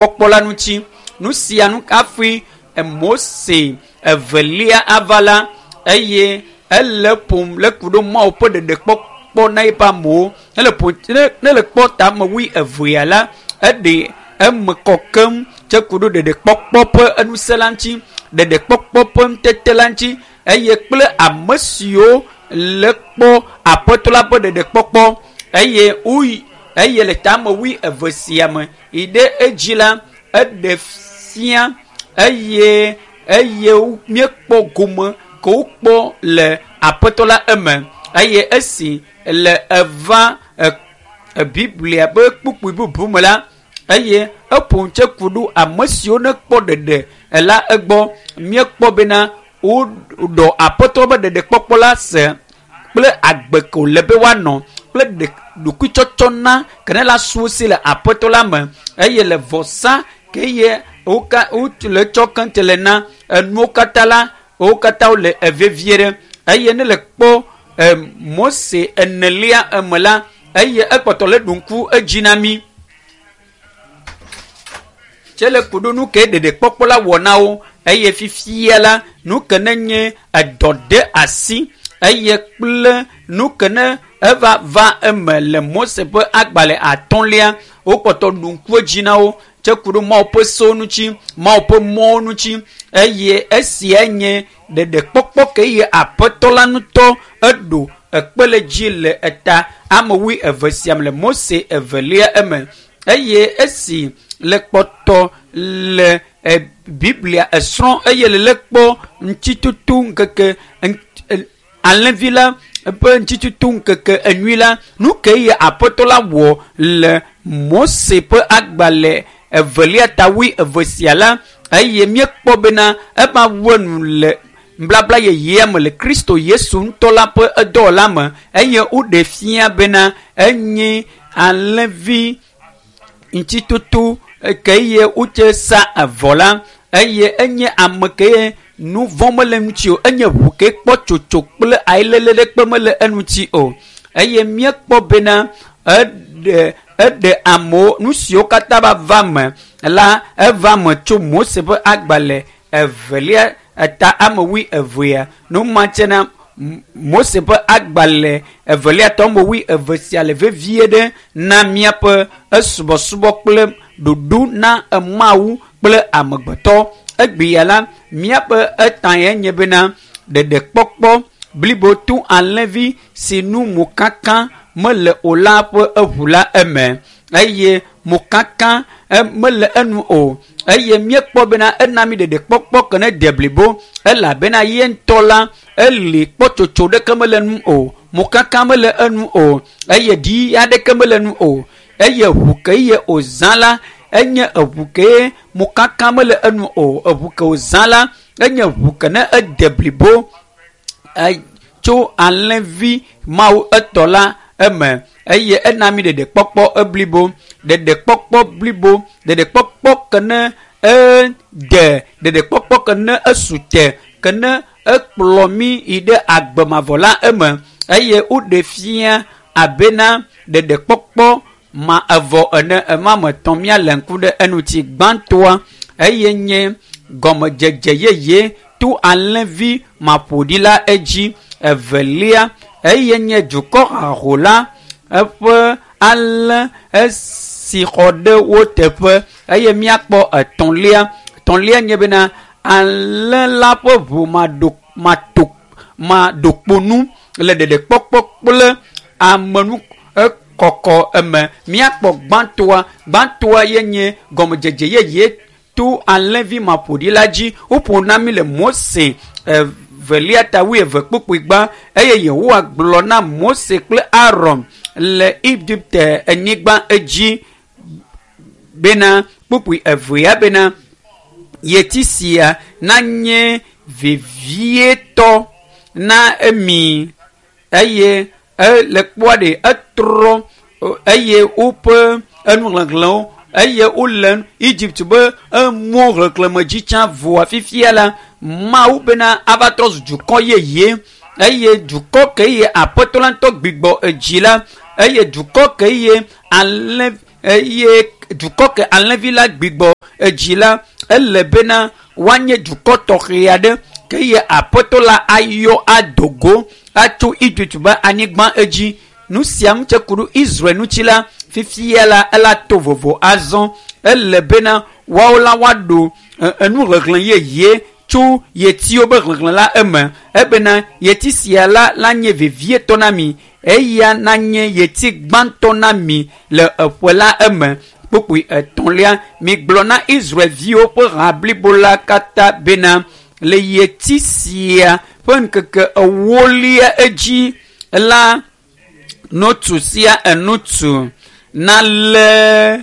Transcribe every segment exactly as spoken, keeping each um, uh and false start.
Kpɔkpɔ la ŋuti. Nu sia nu hafi Mose evelia ava la eye ele ƒom le ku ɖo Mawu ƒe ɖeɖekpɔkpɔ na eƒe amewo. Ne le ƒo ne ne le kpɔ tame wui evea la, eɖe eme kɔ keŋ tse ku ɖo ɖeɖekpɔkpɔ ƒe enusẽ la ŋuti, ɖeɖekpɔkpɔ ƒe ŋutete la ŋuti eye kple ame siwo le kpɔ aƒetɔ la ƒe ɖeɖekpɔkpɔ eye woyi eye le tame wui eve sia me yi ɖe edzi la eɖe fia eye eye míekpɔ gome ke wokpɔ le aƒetɔ la eme eye esi le eva e biblia be kpukpui bubu me la eye eƒo ŋutse ku ɖo ame siwo nekpɔ ɖeɖe la egbɔ míekpɔ bena woɖɔ aƒetɔ be ɖeɖekpɔkpɔ la se kple agbe ke wòle be woanɔ kple ɖe ɖokuitsɔtsɔ na ke ne la su si le aƒetɔ la me eye le vɔsa ke ye woka wole tsɔ keŋ le na enuwo katã la wo katã wole evevie ɖe eye ne le kpɔ e Mose enelia eme la eye ekpɔtɔ le ɖo ŋku edzi na mí tse le ku ɖo nu ke ɖeɖekpɔkpɔ la wɔ na wo eye fifia la nu ke ne nye edɔ de asi eye kple nu ke ne eva va eme le Mose ƒe agbalẽ atɔ̃lia wokpɔtɔ ɖo ŋku edzi na wo tse ku ɖo Mawu ƒe sewo ŋuti Mawu ƒe mɔwo ŋuti eye esia nye ɖeɖekpɔkpɔ ke ye aƒetɔ la ŋutɔ eɖo ekpe le dzi le eta ame wui eve sia me le Mose evelia eme eye esi le kpɔtɔ le e biblia esrɔ̃ eye le le kpɔ ŋutitoto ŋkeke alẽvi la eƒe ŋutitoto ŋkeke enyui la nu ke ye aƒetɔ la wɔ le Mose ƒe agbalẽ evelia ta wui eve sia la eye míekpɔ bena eva wu enu le nubabla yeyea me le Kristo Yesu ŋutɔ la ƒe edɔwɔla me eye woɖe fia bena enye alẽvi ŋutitoto ke ye wotse sa avɔ la eye enye ame ke ye nu vɔ̃ mele eŋuti o enye ʋu ke kpɔ tsotso kple ayilele ɖekpe mele eŋuti o eye míekpɔ bena eɖe eɖe amewo nu siwo katã va va me la eva me tso Mose ƒe agbalẽ evelia eta ame wui evea nu ma tse na Mose ƒe agbalẽ evelia tɔ ame wui eve sia le vevie ɖe na míaƒe esubɔsubɔ kple ɖoɖo na Mawu kple amegbetɔ egbea la míaƒe eta ye nye bena ɖeɖekpɔkpɔ blibo to alẽvi si nu mokaka mele o la ƒe eʋu la eme eye mokaka mele enu o eye míekpɔ bena ena mi ɖeɖekpɔkpɔ ke ne de blibo elabena ye ŋutɔ la eli kpɔtsotso ɖeke mele enu o mokaka mele enu o eye ɖi aɖeke mele enu o eye ʋu ke ye wòzã la enye eʋu ke mokaka mele enu o eʋu ke wòzã la enye ʋu ke ne ede blibo tso alẽvi Mawu etɔ la eme eye ena mi ɖeɖekpɔkpɔ eblibo ɖeɖekpɔkpɔ blibo ɖeɖekpɔkpɔ ke ne ede ɖeɖekpɔkpɔ ke ne esu te ke ne ekplɔ mi yi ɖe agbemavɔ la eme eye woɖe fia abena ɖeɖekpɔkpɔ ma evɔ ene ema me tɔn míale ŋku ɖe eŋuti gbãtɔa eye nye gɔmedzedze yeye to alẽvi maƒoɖi la edzi evelia eye nye dukɔ haho la eƒe alẽ esi xɔ ɖe wo teƒe eye míakpɔ etɔ̃lia etɔ̃lia nye bena alẽ la ƒe ʋu maɖo mato maɖokponu le ɖeɖekpɔkpɔ kple amenu ekɔkɔ eme míakpɔ gbãtɔa gbãtɔa ye nye gɔmedzedze yeye to alẽvi maƒoɖi la dzi woƒo na mi le Mose evelia ta wui eve kpukpui gbã eye Yehowa gblɔ na Mose kple Aron le Egipte anyigba edzi bena kpukpui evea bena yeti sia nanye vevietɔ na emi eye ele kpɔa ɖe etrɔ eye woƒe enuhlẽhlẽwo eye wole Egypt be emɔ xexlẽme dzi tsã voa fifia la Mawu bena ava trɔ zu dukɔ yeye eye dukɔ ke ye aƒetɔ la ŋutɔ gbigbɔ edzi la eye dukɔ ke ye alẽ eye dukɔ ke alẽvi la gbigbɔ edzi la ele bena woanye dukɔ tɔxɛ aɖe ke ye aƒetɔ la ayɔ adogo atso Egypt be anyigba edzi. Nu sia ŋutse ku ɖo Israel ŋuti la fifia la ela to vovo azɔ ele bena woawo la woaɖo enu ʋeʋlẽ yeye tso yetiwo be ʋeʋlẽ la eme ebena yeti sia la la nye vevietɔ na mi eya nanye yeti gbãtɔ na mi le eƒe la eme. Kpukpui etɔ̃lia migblɔ na Israelviwo ƒe ha blibo la katã bena le yeti sia ƒe ŋkeke ewolia edzi la nutsu sia enutsu nalé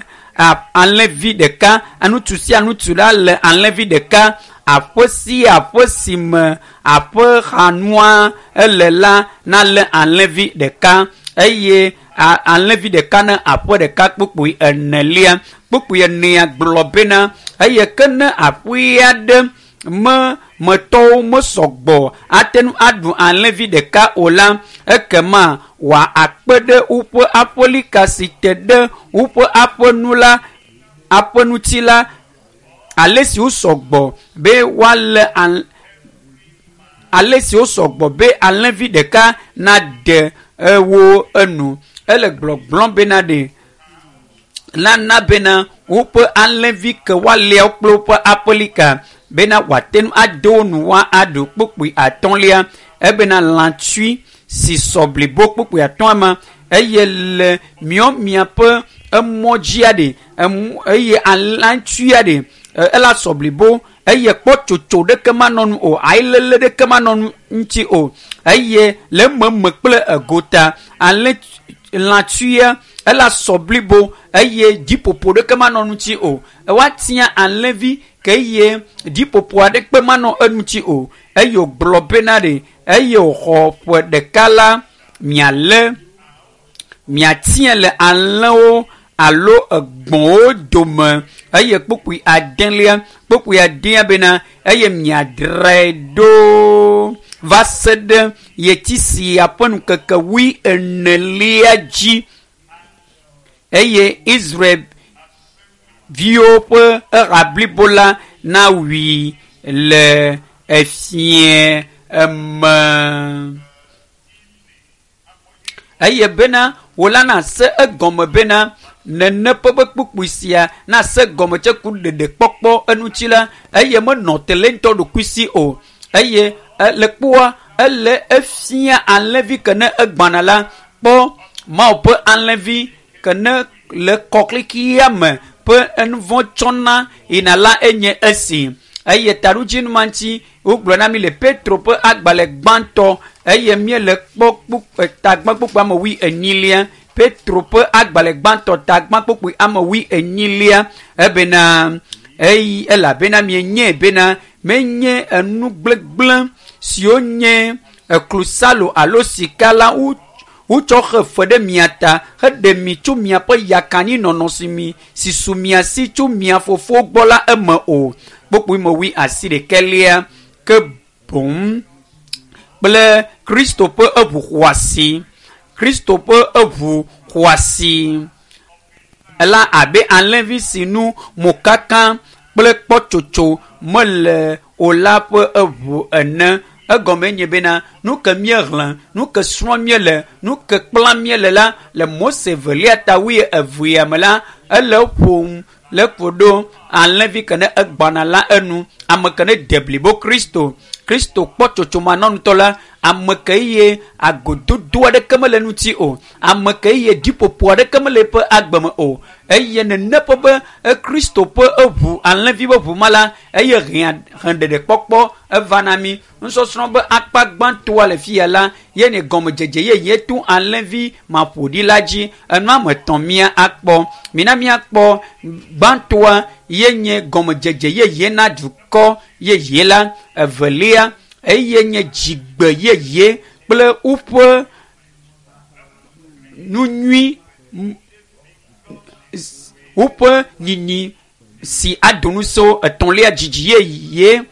alẽvi ɖeka nutsu sia nutsu la le alẽvi ɖeka aƒe sia aƒe si me aƒexanua ele la nalé alẽvi ɖeka eye alẽvi ɖeka ne aƒe ɖeka. Kpukpui enelia kpukpui enea gblɔ bena eye ke ne aƒe aɖe me metɔwo mesɔgbɔ ate ŋu aɖu alẽvi ɖeka o la ekema wòa akpe ɖe woƒe aƒelika si te ɖe woƒe aƒenu la aƒeŋuti la ale si wosɔgbɔ be woalé ale si wosɔgbɔ be alẽvi ɖeka nade ewo enu. Ele gblɔgblɔm bena ɖe nana bena woƒe alẽvi ke woalia kple woƒe aƒelika bena wòate ŋu ado wo nu woaɖu. Kpukpui atɔ̃lia ebena lãtsui si sɔ blibo. Kpukpui atɔ̃a ma eye le miɔ miaƒe emɔ dzia ɖe eye alãtsuia ɖe ela sɔ blibo eye kpɔtsotso ɖeke manɔ nu o ayilele ɖeke manɔ nu ŋuti o eye le ememe kple egota alẽ lãtsuia ela sɔ blibo eye dziƒoƒo ɖeke manɔ ŋuti o. Woatia alẽvi ke eye dziƒoƒo aɖeke manɔ eŋuti o eye wògblɔ bena ɖe eye wòxɔ ƒe ɖeka la mialé miatia le alẽwo alo egbɔ̃wo dome. Eye kpukpui adelia kpukpui adea bena eye miadrae ɖo va se ɖe yeti sia ƒe ŋkeke wui enelia dzi eye Israelviwo ƒe eha blibo la nawui le efie eme. Eye bena wòla nase egɔme bena nene ƒe be kpukpui sia nase gɔme tse ku ɖeɖekpɔkpɔ eŋuti la eye menɔ te le ŋutɔ ɖokui si o eye le kpoa ele efia alẽvi ke ne egbana la kpɔ Mawu ƒe alẽvi ke ne le kɔklikia me ƒe enuvɔ tsɔna yina la enye esi. Eye taɖodzinu ma ŋuti wogblɔ na mi le Petro ƒe agbalẽ gbãtɔ eye míele kpɔ kpukpui tagbã kpukpui ame wui enyilia. Petro ƒe agbalẽ gbãtɔ tagbã kpukpui ame wui enyilia ebena eyi elabena mienye bena menye enu gblegblẽ siwo nye klosalo alo sika la wotsɔ xe fe ɖe mia ta heɖe mi tso miaƒe yakaninɔnɔ si mi si su mia si tso mia fofo gbɔ la eme o. Kpukpui me wui asi ɖekɛlia ke boŋ kple Kristo ƒe eʋu xɔasi Kristo ƒe eʋu xɔasi ela abe alẽvi si nu mokaka kple kpɔtsotso mele o la ƒe eʋu ene. Egɔme nye bena nu ke míexlẽ nu ke srɔ̃ míele nu ke kpla míele la le Mose velia ta wui evea me la ele ƒom le ƒo ɖo alẽvi ke ne egbana la enu ame ke ne de blibo Kristo Kristo kpɔtsotso manɔŋutɔ la ame ke ye agododo aɖeke mele ŋuti o ame ke ye dziƒoƒo aɖeke mele eƒe agbe me o eye nene ƒe be Kristo ƒe eʋu alẽvi ƒe ʋu ma la eye hĩa hẽɖeɖekpɔkpɔ eva na mi. Nusɔsrɔ̃ be akpa gbãtɔa le fia la ye ne gɔmedzedze yeye to alẽvi maƒoɖi la dzi enu ame etɔ̃ mía akpɔ mina míakpɔ gbãtɔa ye nye gɔmedzedze yeye na dukɔ yeye la evelia eye nye dzigbe yeye kple woƒe nu nyui woƒe nyinyi si ado ŋusẽ etɔ̃lia dzidzi yeye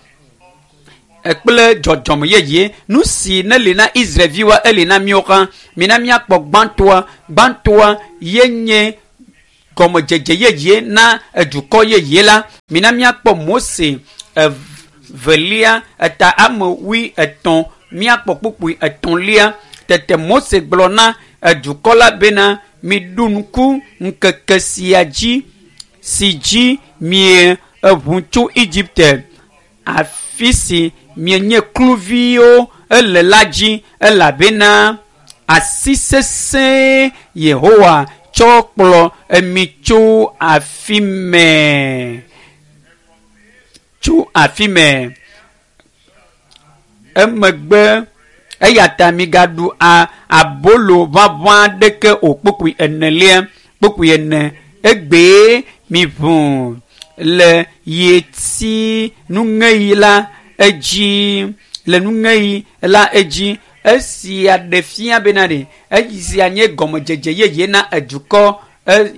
kple dzɔdzɔme yeye. Nu si ne li na Israelviwoa eli na míawo hã. Mina míakpɔ gbãtɔa gbãtɔa ye nye Egɔmedzedze yeye na edukɔ yeye la. Mina míakpɔ Mose evelia eta ame wui etɔ̃ míakpɔ kpukpui etɔ̃lia. Tete Mose gblɔ na edukɔ la bena miɖu ŋku ŋkeke sia dzi si dzi mie eʋu tso Egipte, afi si mienye kluviwo ele la dzi, elabena asi sesẽ Yehowa tsɔ kplɔ emi tso afi me. Tso afi me. Emegbe eya ta migaɖu a abolo ʋaʋã ɖeke o. Kpukpui enelia, kpukpui ene. Egbee miʋu le yeti nuŋeɣi la edzi, le nuŋeɣi la edzi. Esia ɖe fia bena ɖe esia nye gɔmedzedze yeye na edukɔ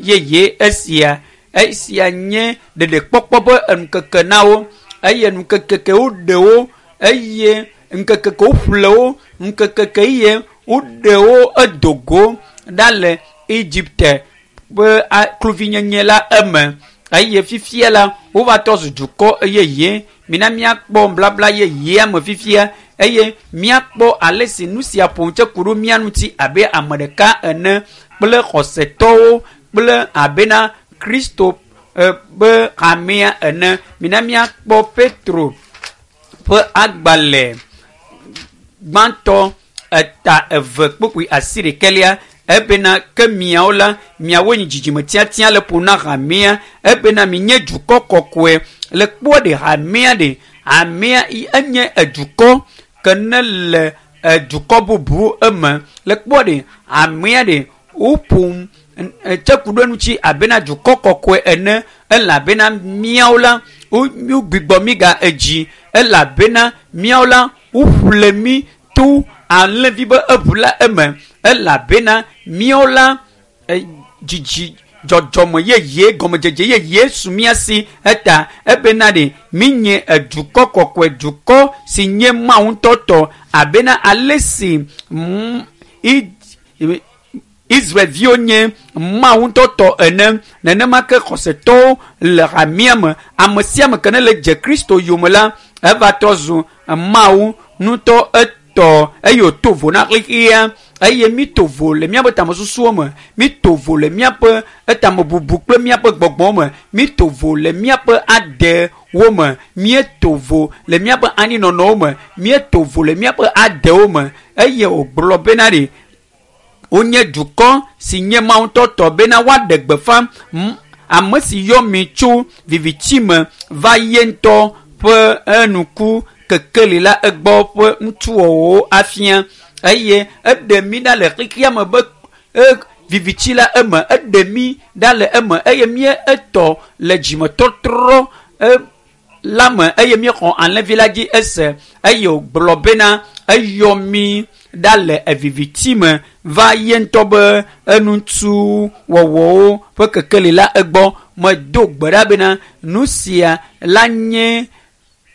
yeye esia. Esia nye ɖeɖekpɔkpɔ be ŋkeke na wo, eye ŋkeke ke woɖe wo, eye ŋkeke ke woƒle wo, ŋkeke ke ye woɖe wo edo go ɖa le Egipte ƒe kluvinyenye la eme. Eye fifia la wova tɔ zu dukɔ yeye. Mina míakpɔ blabla yeyea me fifia, eye míakpɔ ale si nu sia ƒo tse ku ɖo mía ŋuti abe ame ɖeka ene kple xɔsetɔwo kple abena Kristo ƒe hamea ene. Mina míakpɔ Petro ƒe agbalẽ gbãtɔ eta eve kpukpui asi ɖekɛlia. Ebena ke miawo la, miawoe nye dzidzime tiatia le ƒo na hamea, ebena minye dukɔ kɔkɔe. Le kpɔ ɖe hamea ɖe, hamea enye edukɔ ke ne le edukɔ bubu eme. Le kpɔ ɖe hamea ɖe, woƒo tse ku ɖe ŋuti abena dukɔ kɔkɔe ene, elabena miawo la, wogbugbɔ mi ga edzi, elabena miawo la, woƒle mi to alẽvi be eʋu la eme, elabena miawo la dzidzi dzɔdzɔme yeye gɔmedzedze yeye su mía si eta ebena ɖe minye edukɔ kɔkɔe, dukɔ si nye Mawu ŋutɔ tɔ, abena ale si Israelviwo nye Mawu ŋutɔ tɔ ene, nenema ke xɔsetɔwo le hamea me. Ame sia ame ke ne le dze Kristo yome la, eva trɔ zu Mawu ŋutɔ etɔ, eye wòto vo na xexea. Eye mito vo le míaƒe tamesusuwo me, mito vo le míaƒe etamebubu kple míaƒe gbɔgbɔwo me, mito vo le míaƒe adewo me, míeto vo le míaƒe anyinɔnɔwo me, míeto vo le míaƒe adewo me. Eye wògblɔ bena ɖe wonye dukɔ si nye Mawu ŋutɔ tɔ bena woaɖe gbeƒã ame si yɔ mi tso viviti me va ye ŋutɔ ƒe enuku kekeli la egbɔ ƒe ŋutsuwɔwɔwo afia. Eye eɖe mi ɖa le xexea me be viviti la eme, eɖe mi ɖa le eme, eye mie etɔ le dzimetɔtrɔ la me, eye míexɔ alẽvi la dzi ese. Eye wògblɔ bena eyɔ mi ɖa le viviti me va ye ŋutɔ be enutuwɔwɔwo ƒe kekeli la egbɔ. Medo gbe ɖa bena nu sia la nye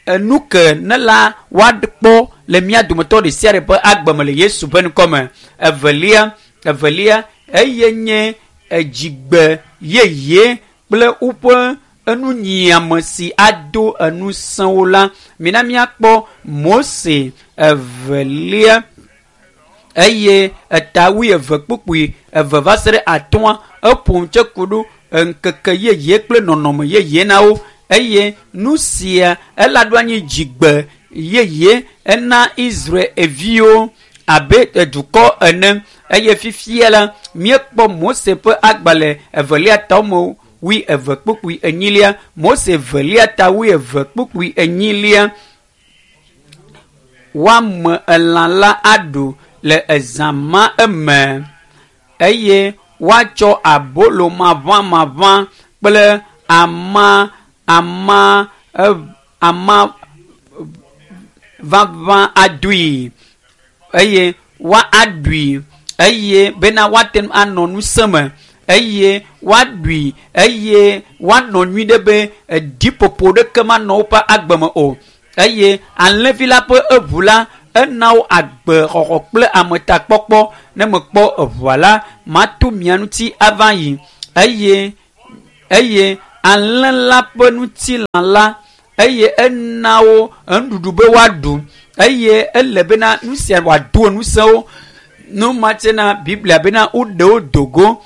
enu ke ne la woakpɔ le mía dometɔ ɖe sia ɖe ƒe agbe me le Yesu ƒe ŋkɔ me. Evelia, evelia eye nye edzigbe yeye kple woƒe enunyiame si ado enusẽwo la. Mina míakpɔ Mose evelia eye eta wuieve kpukpui eve va se ɖe atɔ̃a. Eƒo tse ku ɖo ŋkeke yeye kple nɔnɔme yeye na wo, eye nu sia ela ɖo anyi dzigbe yeye ena Israelviwo abe dukɔ ene. Eye fifia la míekpɔ Mose ƒe agbalẽ evelia ta me wui eve kpukpui enyilia. Mose evelia ta wui eve kpukpui enyilia. Woame elã la aɖu le ezã ma eme, eye woatsɔ abolo maʋamaʋã kple ama ama ama ʋaʋã adoe, eye woaɖui, eye bena woate ŋu anɔ ŋusẽ me, eye woaɖui, eye woanɔ nyui ɖe be ɖiƒoƒo ɖeke manɔ woƒe agbe me o. Eye alẽvi la ƒe eʋu la ena wo agbexɔxɔ kple ametakpɔkpɔ. Ne mekpɔ eʋua la, mato mia ŋuti ava yi, eye eye alẽ la ƒe ŋutilã la eye ena wo enuɖuɖu be woaɖu eye ele bena nu sia wòado ŋusẽ nu ma tsena Biblia bena woɖe wo dogo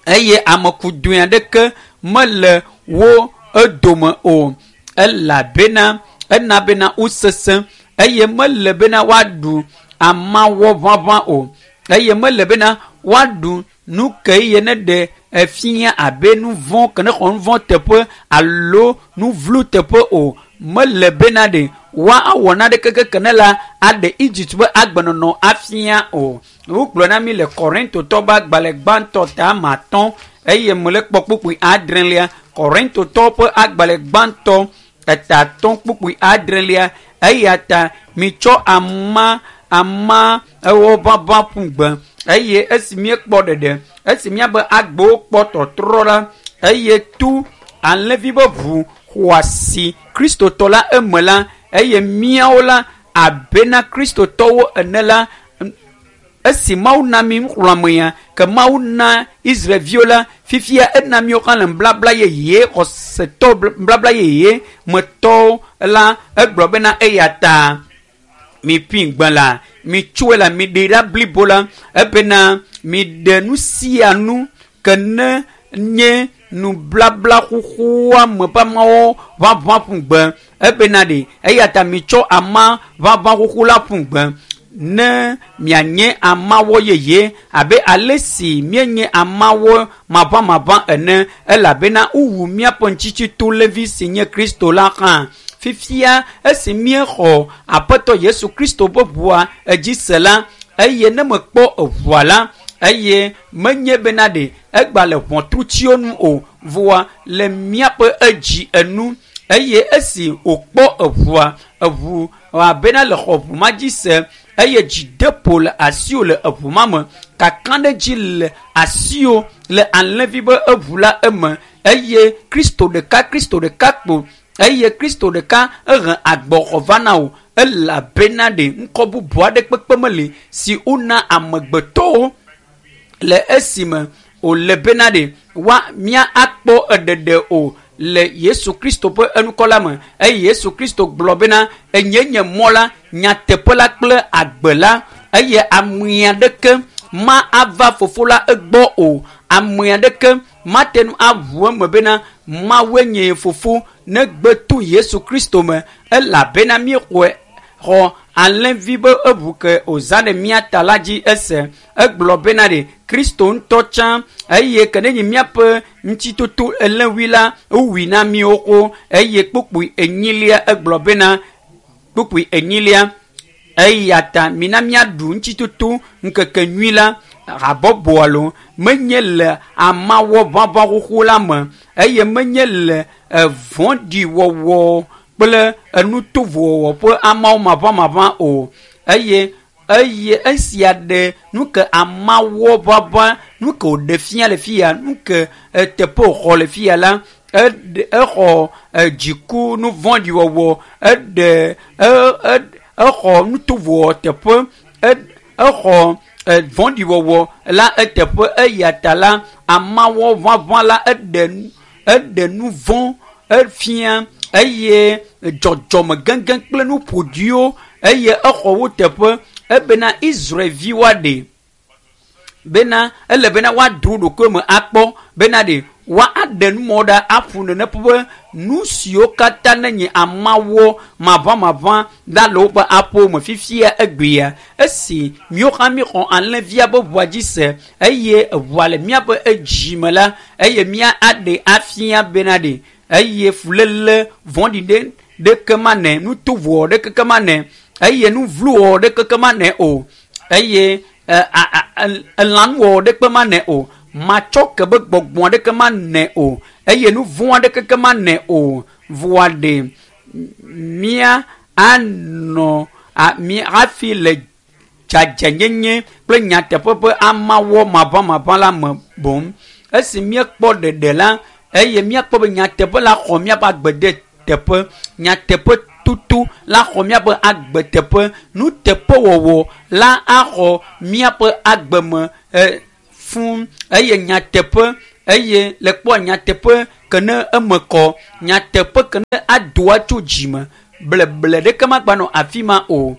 eye amekudoe aɖeke mele wo edome o elabena ena bena wosesẽ eye mele bena woaɖu amawɔ ʋaʋã o eye mele bena woaɖu nu ke ye ne ɖe efia abe nu vɔ̃ ke ne xɔ nu vɔ̃ teƒe alo nu vlo teƒe o mele bena ɖe woawɔ naɖeke ke ne la aɖe Egypt ƒe agbenɔnɔ afia o. Wogblɔ na mi le Korintotɔ ƒe agbalẽ gbãtɔ ta ame atɔ̃ eye mele kpɔ kpukpui adrelia. Korintotɔ ƒe agbalẽ gbãtɔ eta atɔ̃ kpukpui adrelia eya ta mitsɔ ama ama ewo ʋaʋã ƒu gbe eye esi míekpɔ ɖeɖe esi míabe agbewo kpɔ tɔtrɔ la eye tu alẽvi ƒe ʋu xɔasi kristotɔ la eme la eye míawo la abena kristotɔwo ene la esi Mawu na mi nuxlɔ̃ame ke Mawu na Israelviwo la fifia ena míwo hã le nubabla yeye xɔsetɔ nubabla yeye metɔwo la egblɔ bena eya ta miƒi gbe la mitsoe la miɖe ɖa blibo la ebena miɖe nu sia nu ke ne nye nublabla xoxoa me ƒe amawo ʋaʋã ƒu gbe ebena ɖe eya ta mitsɔ ama ʋaʋã xoxo la ƒu gbe ne mianye amawɔ yeye abe ale si míenye amawɔ maʋamaʋã ene elabena wowu míaƒe ŋutitsitolevi si nye Kristo la hã. Fifia esi míexɔ Aƒetɔ Yesu Kristo ƒe ʋua edzi se la eye ne mekpɔ eʋua la eye menye bena ɖe egba le ʋɔtrutiwo nu o voa le míaƒe edzi enu eye esi wòkpɔ eʋua eʋu abena le xɔ ʋu ma dzi se eye dzideƒo le asiwò le eʋu ma me kakaɖedzi le asiwò le alẽvi ƒe eʋu la eme eye Kristo ɖeka Kristo ɖeka kpo eye Kristo ɖeka ehe agbɔxɔ va na wò elabena ɖe ŋkɔ bubu aɖe kpekpe meli si wona amegbetɔwo le esime wòle bena ɖe wa mía akpɔ eɖeɖe o le Yesu Kristo ƒe enukɔ la me eye Yesu Kristo gblɔ bena enye nye mɔ la nyateƒe la kple agbe la eye ame aɖeke ma ava fofo la egbɔ o ame aɖeke mate ŋu aʋu eme bena Mawue nye fofo negbe to Yesu Kristo me elabena míexɔe xɔ alẽvi be eʋu ke wòzã ɖe mía ta la dzi ese egblɔ bena ɖe Kristo ŋutɔ tsã eye ke ne nye míaƒe ŋutitoto elẽwui la wowui na míwo xoxo eye kpukpui enyilia egblɔ bena kpukpui enyilia eya ta mina míaɖu ŋutitoto ŋkeke nyui la habɔbɔ alo menye le amawɔ ʋaʋã xoxo la me eye menye le evɔ̃ɖiwɔwɔ kple enutovowɔwɔ ƒe amawo maʋamaʋã o eye eye esia ɖe nu ke amawɔ ʋaʋã nu ke wòɖe fia le fia nu ke eteƒe wòxɔ le fia la eɖe exɔ dziku nu vɔ̃ɖiwɔwɔ eɖe e exɔ nutovowɔwɔ teƒe exɔ vɔ̃ɖiwɔwɔ la eteƒe eya ta la amawɔ ʋaʋã la eɖe eɖe nu vɔ̃ efia eye dzɔdzɔme gɛgɛ kple nu ƒoɖiwo eye exɔ wo teƒe ebena Israelviwo aɖe bena ele bena woado wo ɖokui me akpɔ bena ɖe woaɖe numɔ ɖa aƒu nene ƒe nu siwo katã ne nye amawɔ maʋamaʋã la le woƒe aƒewo me fifia egbea esi míwo hã míexɔ alẽvia ƒe ʋua dzi se eye eʋua le míaƒe edzi me la eye mía aɖe afia bena ɖe eye fuléle vɔ̃ɖi ɖe ɖeke manɛ nutovowɔ ɖeke ke manɛ eye nu vlowɔwɔ ɖeke ke manɛ o eye elãnuwɔwɔ ɖeke manɛ o matsɔ ke be gbɔgbɔ aɖeke manɛ o eye nu vɔ̃ aɖeke ke manɛ o voa ɖe mía anɔ mía hafi le dzadzɛnyenye kple nyateƒe ƒe amawɔ maʋamaʋã la me boŋ esi míekpɔ ɖeɖe la eye míakpɔ be nyateƒe la xɔ míaƒe agbe de teƒe nyateƒe tutu la xɔ míaƒe agbe teƒe nuteƒewɔwɔ la axɔ míaƒe agbe me e fũ eye nyateƒe Eye le kpɔ nyateƒe ke ne eme kɔ nyateƒe ke ne adoa tso dzime bleble ɖeke magba nɔ afi ma o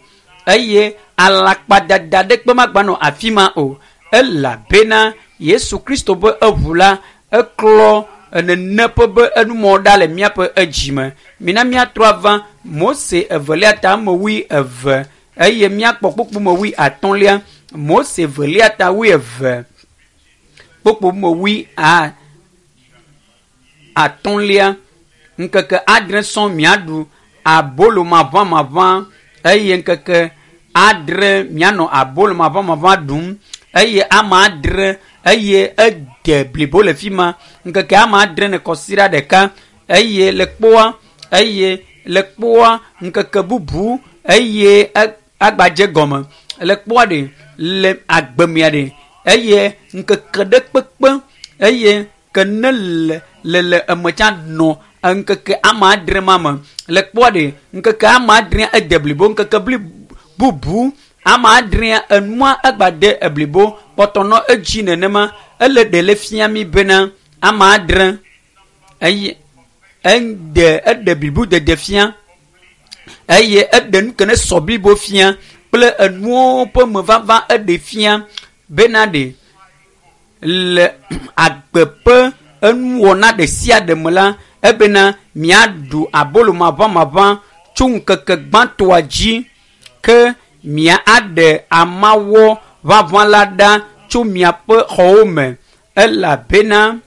eye alakpadada ɖeke magba nɔ afi ma o elabena Yesu Kristo be eʋu la eklɔ enene ƒe be enumɔ ɖa le míaƒe edzime. Mina míatrɔ ava Mose evelia ta ame wui eve eye míakpɔ kpukpu me wui atɔ̃lia. Mose evelia ta wui eve kpukpu me wui a atɔ̃lia. Ŋkeke adre sɔŋ miaɖu abolo maʋamaʋã eye ŋkeke adre mianɔ abolo maʋamaʋã ɖum eye ame adre eye ede blibo le fi ma. Ŋkeke ame adre ne kɔsiɖa ɖeka eye le kpoa eye le kpoa ŋkeke bubu eye agbadze gɔme le kpoa ɖe le agbemea ɖe eye ŋkeke ɖe kpekpe eye ke ne le le le emetsa nɔ ŋkeke ame adre ma me le kpoa ɖe ŋkeke ame adrea ede blibo ŋkeke bli bubu ame adrea enua egbade eblibo kpɔtɔ nɔ edzi nenema ele ɖe le fia mi bena ame adre eye eɖe eɖe blibo dede fia eye eɖe nu ke ne sɔ blibo fia kple enuwo ƒe mevava eɖe fia bena ɖe le agbe ƒe enuwɔna ɖe sia ɖe me la ebena miaɖu abolo maʋamaʋã tso ŋkeke gbãtɔa dzi ke mia aɖe amawɔ ʋaʋã la ɖa tso miaƒe xɔwo me elabena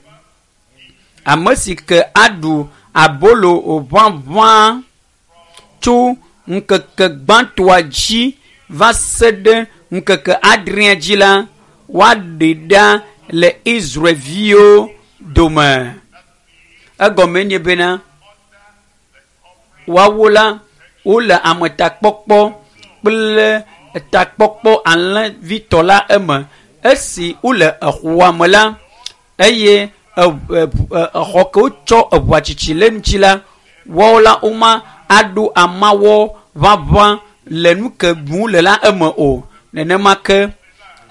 ame si ke aɖu abolo ʋaʋã tso ŋkeke gbãtɔa dzi va se ɖe ŋkeke adrea dzi la woaɖe ɖa le Israelviwo dome. Egɔme nye bena woawo la wole ametakpɔkpɔ kple takpɔkpɔ alẽvitɔ la eme. Esi wole exɔa me la eye exɔ ke wotsɔ eʋua tsitsi le ŋuti la woawo la woma aɖo amawɔ ʋaʋã le nu ke ɖum le la eme o. Nenema ke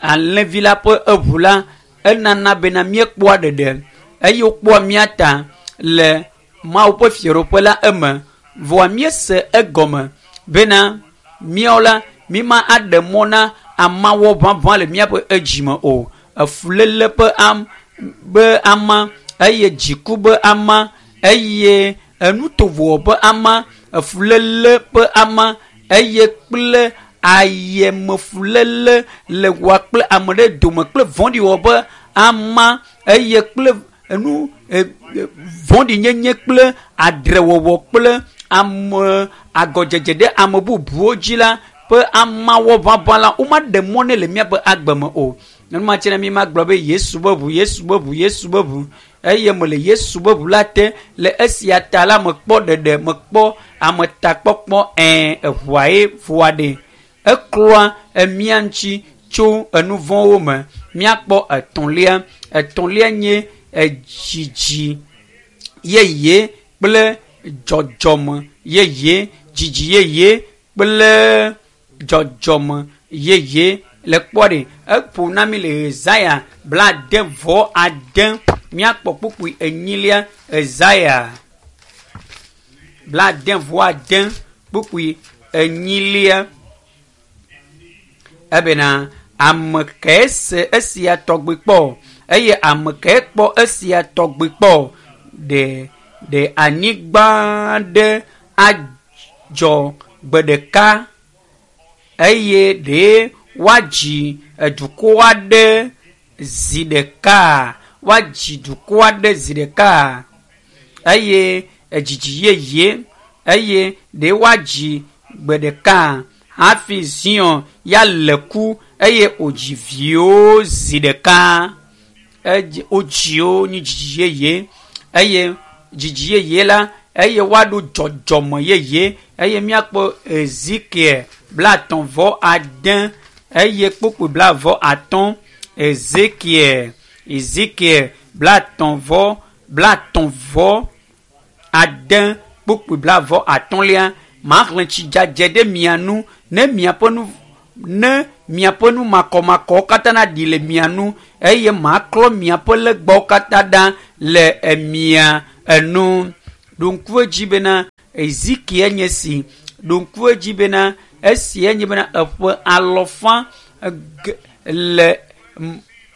alẽvi la ƒe eʋu la enana bena míekpɔa ɖeɖe eye wokpɔa mía ta le Mawu ƒe fiaɖuƒe la eme. Vɔa míese egɔme bena míawo la míma aɖe mɔ na amawɔ ʋaʋã le míaƒe edzime o. Efuléle ƒe am be ama eye dziku be ama eye enutovowo ƒe ama efuléle ƒe ama eye kple ayemefuléle le woa kple ame ɖe dome kple vɔ̃ɖiwɔ ƒe ama eye kple enu vɔ̃ɖinyenye kple adrewɔwɔ kple ame agɔdzedze ɖe ame bubuwo dzi la ƒe amawɔ ʋaʋã la womaɖe mɔ nɛ le míaƒe agbe me o. Nenema tse ne mi ma gblɔ be Yesu be ʋu, Yesu be ʋu, Yesu be ʋu eye mele Yesu be ʋu la te le esia ta la mekpɔ ɖeɖe mekpɔ ametakpɔkpɔ ɛɛ eʋua ye ʋua ɖe eklɔa emía ŋuti tso enuvɔ̃wo me. Míakpɔ etɔ̃lia. Etɔ̃lia nye edzidzi yeye kple dzɔdzɔme yeye dzidzi yeye kple dzɔdzɔme yeye le kpɔ ɖe eƒo na mi le Yesaya blaade vɔ ade míakpɔ kpukpui enyilia Yesaya blaade vɔ ade kpukpui enyilia ebena ame kae se esia tɔgbi kpɔ eye ame kae kpɔ esia tɔgbi kpɔ ɖe ɖe anyigba ɖe adzɔ gbe ɖeka eye ɖe woadzi edukɔ aɖe zi ɖeka woadzi dukɔ aɖe zi ɖeka eye edzidzi yeye eye ɖe woadzi gbe ɖeka hafi Zion ya le ku eye wòdzi viwo zi ɖeka edzi wodzi wo nye dzidzi yeye eye dzidzi yeye la eye woaɖo dzɔdzɔme yeye eye míakpɔ Ezekiel blaetɔ̃ vɔ ade eye kpukpui blaeve atɔ̃ Ezekiel Ezekiel blaetɔ̃ vɔ blaetɔ̃ vɔ ade kpukpui blaeve atɔ̃lia maxlẽ tsi dzadze ɖe mia nu ne miaƒe nu Ne miaƒe nu makɔmakɔwo katã naɖi le mia nu eye maklɔ miaƒe legbawo katã ɖa le emia enu. Ɖo ŋku edzi bena Ezekiel nye si. Ɖo ŋku edzi bena esia nye bena eƒe alɔfa le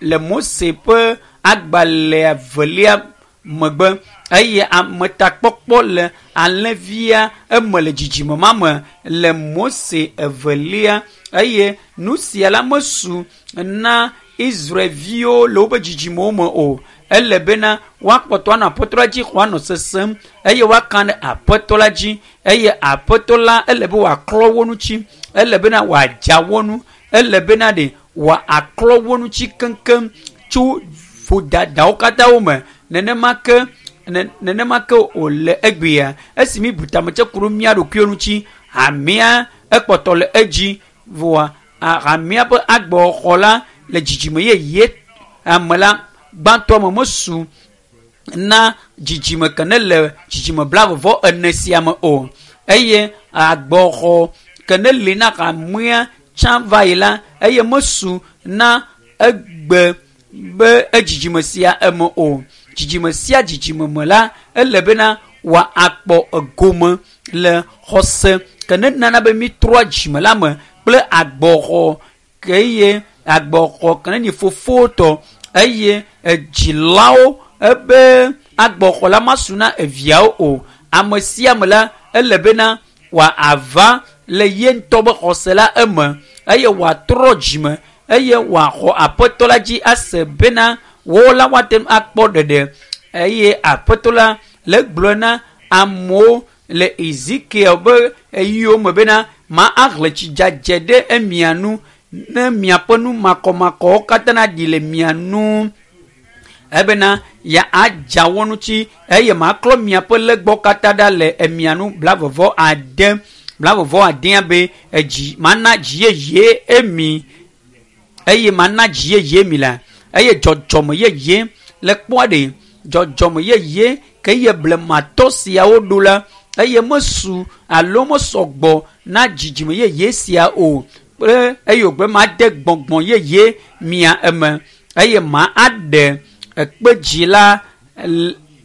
le Mose ƒe agbalẽ evelia megbe eye ametakpɔkpɔ le alẽvia eme le dzidzime ma me le Mose evelia eye nu sia la mesu na Israelviwo le woƒe dzidzimewo me o. Ele bena woakpɔtɔ anɔ Aƒetɔ la dzi xɔ anɔ sesem eye woaka ɖe Aƒetɔ la dzi eye Aƒetɔ la ele be wòaklɔ wo ŋuti, ele bena wòadza wo nu, ele bena ɖe wòaklɔ wo ŋuti keŋkeŋ tso vodadawo katã wo me. Nenema ke nenema ke wòle egbea esi mi bu tame tse ku ɖo mía ɖokuiwo ŋuti hamea ekpɔtɔ le edzi voa hamea ƒe agbexɔ la le dzidzime yeye ame la gbãtɔ me mesu na dzidzime ke ne le dzidzime blaeve ene sia me o eye agbexɔ ke ne li na hamea tsã va yi la eye mesu na egbe be edzidzime sia eme o. Dzidzime sia dzidzime me la ele bena wòakpɔ egome le xɔse ke ne nana be mi trɔ dzime la me kple agbɔxɔ ke eye agbɔxɔ ke ne nyi fofowo tɔ eye edzilawo ebe agbɔxɔ la masu na eviawo o. Ame sia ame la ele bena wòava le ye ŋutɔ be xɔse la eme eye wòatrɔ dzime eye wòaxɔ Aƒetɔ la dzi ase bena wo la woate ŋu akpɔ ɖeɖe eye Aƒetɔ la le gblɔ na amewo le Ezekiel be eyiwo me bena ma ahlẽ tsi dzadze ɖe emia nu ne miaƒe nu makɔmakɔwo katã naɖi le mia nu ebena ya adza wo ŋuti eye maklɔ miaƒe legbawo katã ɖa le emia nu blaeve ade blaeve adea be edzi mana dzi yeye emi eye mana dzi yeye mi la eye dzɔdzɔme yeye le kpɔa ɖe dzɔdzɔme yeye ke ye blematɔ siawo ɖo la eye mesu alo mesɔgbɔ na dzidzime yeye sia o kple eye wògbe made gbɔgbɔ yeye mia eme eye ma aɖe ekpe dzi la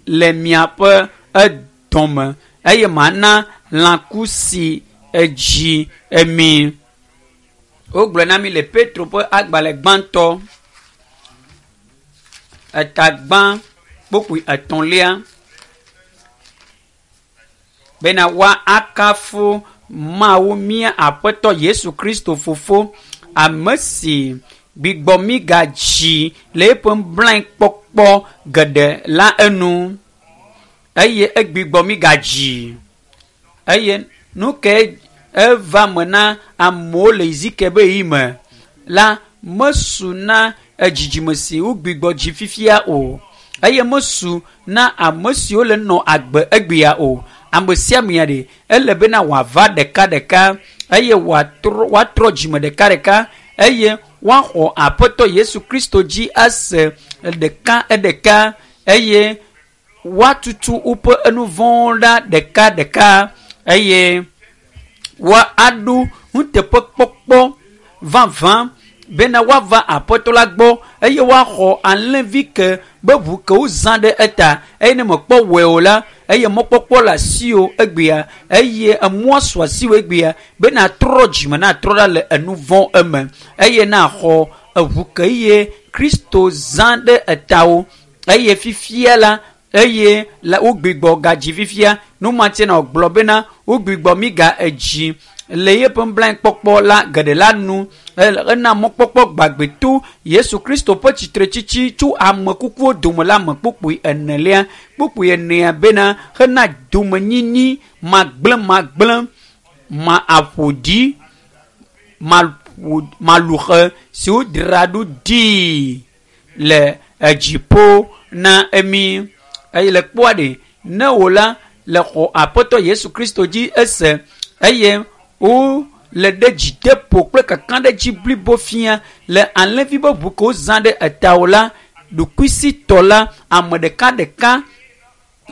le miaƒe edɔme eye mana lãku si edzi emi. Wogblɔ na mi le Petro ƒe agbalẽ gbãtɔ eta gbã kpokpui etɔ̃lia bena woakafu Mawu mía Aƒetɔ Yesu Kristo fofo ame si gbigbɔ mi gadzi le eƒe nublanuikpɔkpɔ geɖe la enu eye egbigbɔ mi gadzi eye nu ke eva me na amewo le Ezekiel be ɣeyiɣi me la mesu na dzidzime si wogbigbɔ dzi fifia o eye mesu na ame siwo le nɔ agbe egbea o. Ame sia amea ɖe ele bena wòava ɖekaɖeka eye wòatrɔ woatrɔ dzime ɖekaɖeka eye woaxɔ Aƒetɔ Yesu Kristo dzi ase ɖeka ɖeka eye woatutu woƒe enuvɔ̃wo ɖa ɖekaɖeka eye woaɖo nuteƒekpɔkpɔ vavã bena woava Aƒetɔ la gbɔ eye woaxɔ alẽvi ke be ʋu ke wozã ɖe eta eye ne mekpɔ wɔe o la eye mɔkpɔkpɔ le asiwò egbea eye emɔa su asiwò egbea be natrɔ dzime natrɔ ɖa le enuvɔ̃ eme eye naxɔ eʋu ke ye Kristo zã ɖe etawo eye fifia la eye la wogbigbɔ gadzi fifia numatie na wògblɔ bena wogbigbɔ mi ga edzi le yeƒe nublanuikpɔkpɔ la geɖe la nu ena mɔkpɔkpɔ gbagbe to Yesu Kristo ƒe tsitretsitsi tso ame kukuwo dome la me kpukpui enelia kpukpui enea bena hena domenyinyi magblẽmagblẽ ma aƒo ɖi maluxe si wodzra ɖo ɖii le edziƒo na emi eye le kpɔa ɖe ne wò la le xɔ Aƒetɔ Yesu Kristo dzi ese eye wo le ɖe dzideƒo kple kakaɖedzi blibo fia le alẽvi be ʋu ke wozã ɖe etawo la ɖokuisitɔ la ame ɖekaɖeka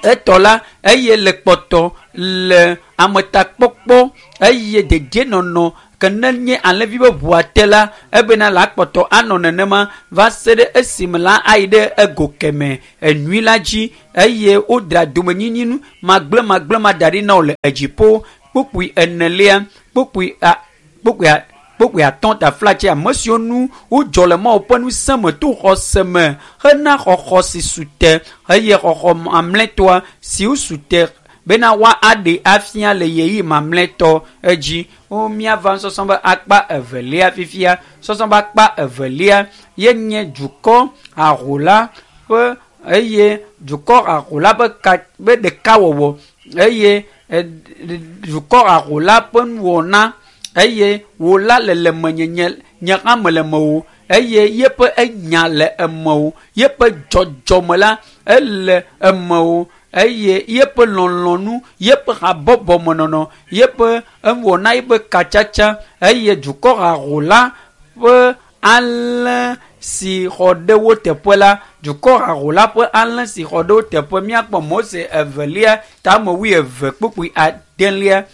etɔ la eye le kpɔtɔ le ametakpɔkpɔ eye dedienɔnɔ Ke ne nye alẽvi be ʋua te la, ebena la kpɔtɔ anɔ nenema va se ɖe esime la ayi ɖe ego keme enyui la dzi eye wodra domenyinyi nu magblẽ magblẽ ma da ɖi na wo le edziƒo. Kpukpui enelia, kpukpui a, kpukpui a, kpukpui atɔ̃ taflatse ame siwo nu wodzɔ le Mawu ƒe ŋusẽ me to xɔse me hena xɔxɔ si su te eye xɔxɔ mamlɛtɔa si su te bena woa aɖe afia le ɣeyiɣi mamlɛtɔ edzi. Wo míava nusɔsrɔ̃ be akpa evelia fifia. Sɔsrɔ̃ be akpa evelia ye nye dukɔ haho la ƒe eye dukɔ haho la ƒe ka be ɖekawɔwɔ eye dukɔ haho la ƒe nuwɔna eye wò la le le menye nye nye hã mele mewò eye yeƒe enya le emewò, yeƒe dzɔdzɔme la ele emewò eye yeƒe lɔlɔ̃nu, yeƒe habɔbɔmenɔnɔ, yeƒe ewɔna, yeƒe katsatsa eye dukɔ haho la ƒe alẽ si xɔ ɖe wo teƒe la, dukɔ haho la ƒe alẽ si xɔ ɖe wo teƒe. Míakpɔ Mose evelia tame wuieve kpukpui adelia.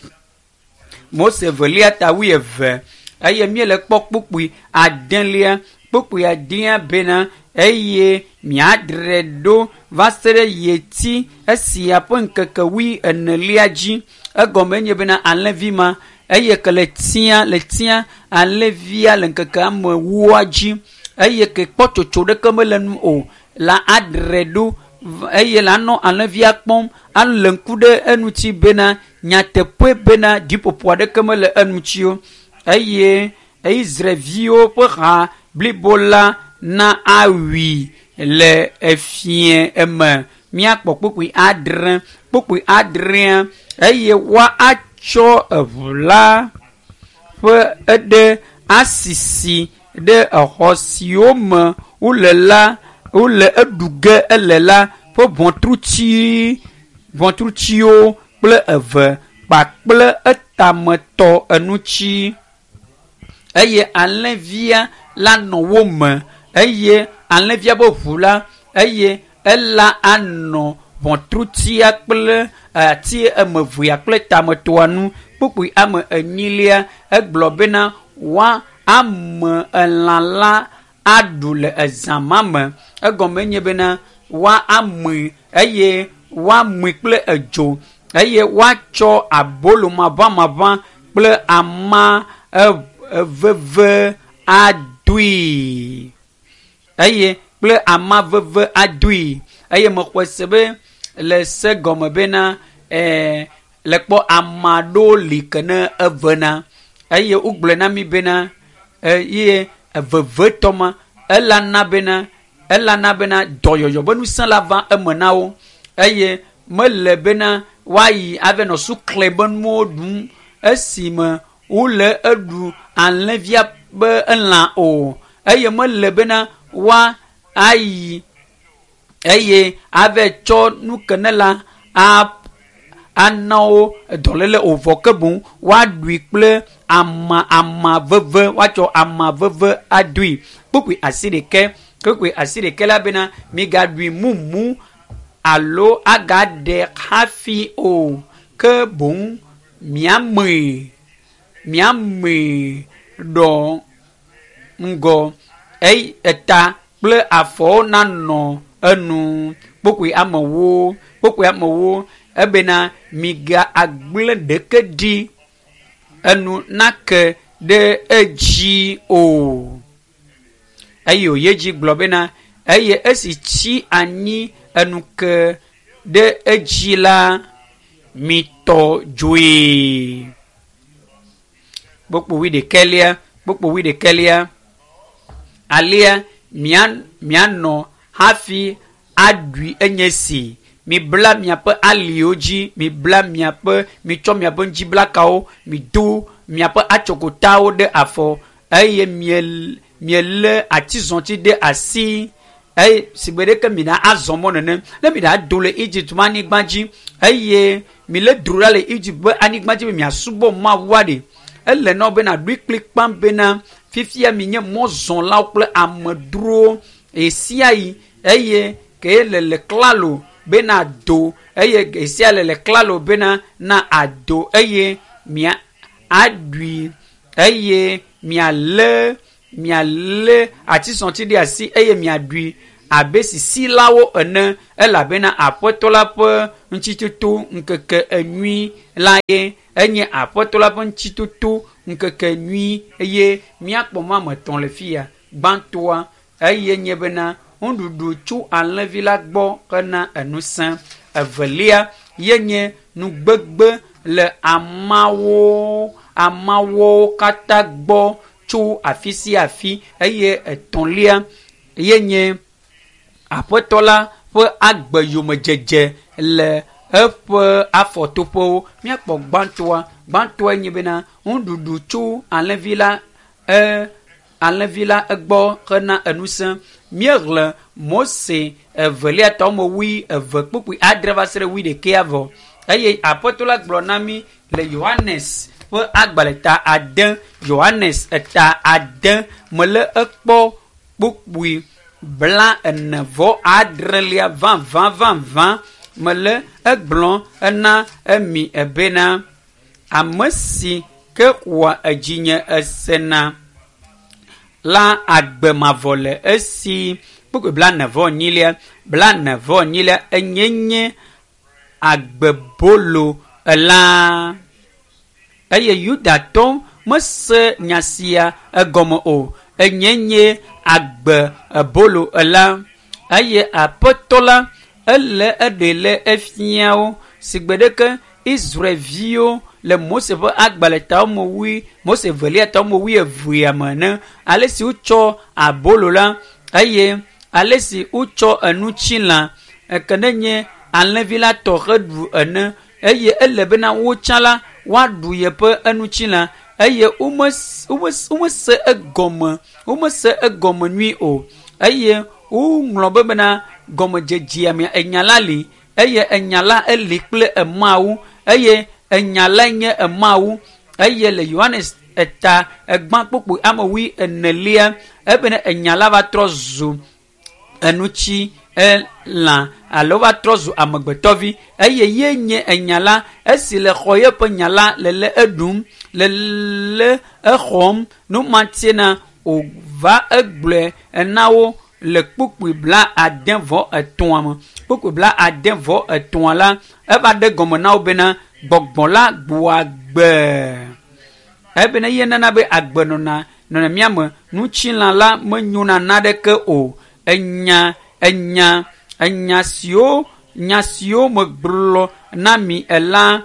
Mose evelia ta wuieve eye míele kpɔ kpukpui adelia. Kpukpui adea bena eye miadre ɖo va se ɖe yeti esia ƒe ŋkeke wui enelia dzi. Egɔme nye bena alẽvi ma eye ke le tia le tia alẽvia le ŋkeke ame ewoa dzi eye ke kpɔ tsotso ɖeke mele nu o la adre ɖo eye la nɔ alẽvia kpɔm alé ŋku ɖe eŋuti bena nyateƒe bena ɖiƒoƒo aɖeke mele eŋuti o eye Israelviwo ƒe ha blibo la na awui le efie eme. Míakpɔ kpukpui adre, kpukpui adrea eye woa atsɔ eʋu la ƒe eɖe asisi ɖe exɔ siwo me wole la wole eɖu ge ele la ƒe ʋɔtruti ʋɔtrutiwo kple eve kpakple etametɔ eŋuti eye alẽvia la nɔ wo me eye alẽvia be ʋu la eye ela anɔ ʋɔtrutia kple ati eme evea kple tametɔa nu. Kpukpui ame enyilia egblɔ bena woa ame elã la aɖu le ezã ma me. Egɔme nye bena woa amui eye woamui kple edzo eye woatsɔ abolo maʋamaʋã kple ama eveve adoe eye kple ama veve adoe eye mexɔe se be le se gɔme bena ɛɛ le kpɔ ama ɖewo li ke ne evena eye wogblɔe na mi bena eye evevetɔ ma ela na bena ela na bena dɔyɔyɔ be ŋusẽ la va eme na wo eye mele bena woayi ava nɔ sukle be nuwo ɖum esime wole eɖu alẽvia be elã o eye mele bena woa ayi eye ava tsɔ nu ke ne la a ana wo dɔléle o vɔ ke boŋ woaɖui kple ama ama veve woatsɔ ama veve adoe. Kpukpui asi ɖekɛ kpukpui asi ɖekɛ la bena migaɖui mumu alo agaɖe hafi o ke boŋ miamee miamee ɖɔ ŋgɔ eye eta kple afɔwo nanɔ enu. Kpukpui amewo kpukpui amewo ebena miga agblẽ ɖeke ɖi enu nake ɖe edzi o. Eye wòyi edzi gblɔ bena eye esi tsi anyi enu ke ɖe edzi la mitɔ dzoe. Kpukpui wuiɖekɛlia kpukpui wuiɖekɛlia alia mia mianɔ hafi aɖui enye si mibla miaƒe aliwo dzi mibla miaƒe mitsɔ miaƒe ŋutiblakawo mido miaƒe atsokotawo ɖe afɔ eye mie mielé atizɔti ɖe asi eye sigbe ɖeke mina azɔ mɔ nene ne mina do le Egypt ƒe anyigba dzi eye mile dro ɖa le Egypt ƒe anyigba dzi be miasubɔ Mawua ɖe ele na wo bena ɖoe kplikpa bena fifia minye mɔzɔlawo kple amedzrowo ɣesiaɣi eye ke le le klalo bena do eye ɣesia le le klalo bena na ado eye mia aɖui eye mialé mialé atisɔti ɖe asi eye miaɖui abe sisilawo ene elabena aƒetɔ la ƒe ŋutitoto ŋkeke enyui la ye enye aƒetɔ la ƒe ŋutitoto ŋkeke nyui eye míakpɔ mɔ ame etɔ̃ le fi ya. Gbãtɔa eye nye bena nuɖuɖu tso alẽvi la gbɔ hena enusẽ. Evelia ye nye nugbegbe le amawo amawo katã gbɔ tso afi sia afi eye etɔ̃lia ye nye aƒetɔ la ƒe agbe yomedzedze le eƒe afɔtoƒewo. Míakpɔ gbãtɔa. Gbãtɔa nye bena nuɖuɖu tso alẽvi la e alẽvi la egbɔ hena enusẽ. Míexlẽ Mose evelia tɔ me wui eve kpukpui adre va se ɖe wui ɖekea vɔ eye aƒetɔ la gblɔ na mí le Yohanes ƒe agbalẽ ta ade Yohanes eta ade mele ekpɔ kpukpui bla ene vɔ adrelia vavã vavã mele egblɔ ena emi ebena ame si ke xɔa edzinye esena la agbe mavɔ le esi kpukpui bla ene vɔ enyilia bla ene vɔ enyilia enye nye agbebolo elã eye yudatɔ mese nya sia egɔme o enye nye agbe ebolo elã eye aƒetɔ la ele eɖe le efiawo si gbe ɖeke Israelviwo le Mose ƒe agbalẽ ta me wui Mose evelia ta me wui evea me ene ale si wotsɔ abolo la eye ale si wotsɔ enutsila eke ne nye alẽvi la tɔ heɖu ene eye ele bena wotsã la woaɖu yeƒe enutsila eye womese womese egɔme womese egɔme nyui o eye woŋlɔ be bena gɔmedzedzea me enya la li eye enya la eli kple emawu eye enya la nye emawu eye le Yohanes eta egbã kpukpui ame wui enelia ebena enya la va trɔ zu enutsi elã alo va trɔ zu amegbetɔvi eye ye nye enya la esi le xɔ yeƒe nya la le le eɖum le le exɔm numatie wòva egblɔe ena wo le kpukpui bla ade vɔ etɔ̃a me kpukpui bla ade vɔ etɔ̃a la eva ɖe gɔme na wo bena gbɔgbɔ la gbɔa agbe ebena ye nana be agbe nɔna nɔna mía me ŋutilã la menyona naɖeke o enya enya enya siwo nya siwo megblɔ na mi ela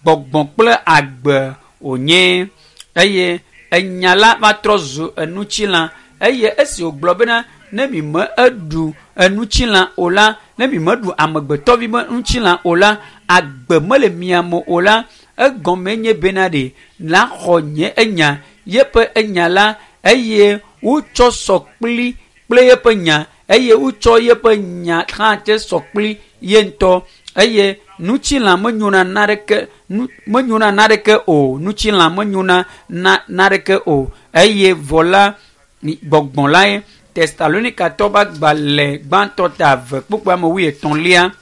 gbɔgbɔ kple agbe wònye eye enya la va trɔ zu enutsila eye esi wògblɔ bena ne mi me eɖu enutsila o la ne mi meɖu amegbetɔvi be ŋutilã o la agbe mele mia me o la egɔme nye bena ɖe la xɔ nye enya yeƒe enya la eye wotsɔ sɔ kpli kple yeƒe nya eye wotsɔ yeƒe nya hã te sɔ kpli ye ŋutɔ eye ŋutilã menyona naɖeke nu menyona naɖeke o ŋutilã menyona na naɖeke o eye vɔ la gbɔgbɔ la ye Tesalonikatɔ ƒe agbalẽ gbãtɔ ta eve kpukpui ame wui etɔ̃lia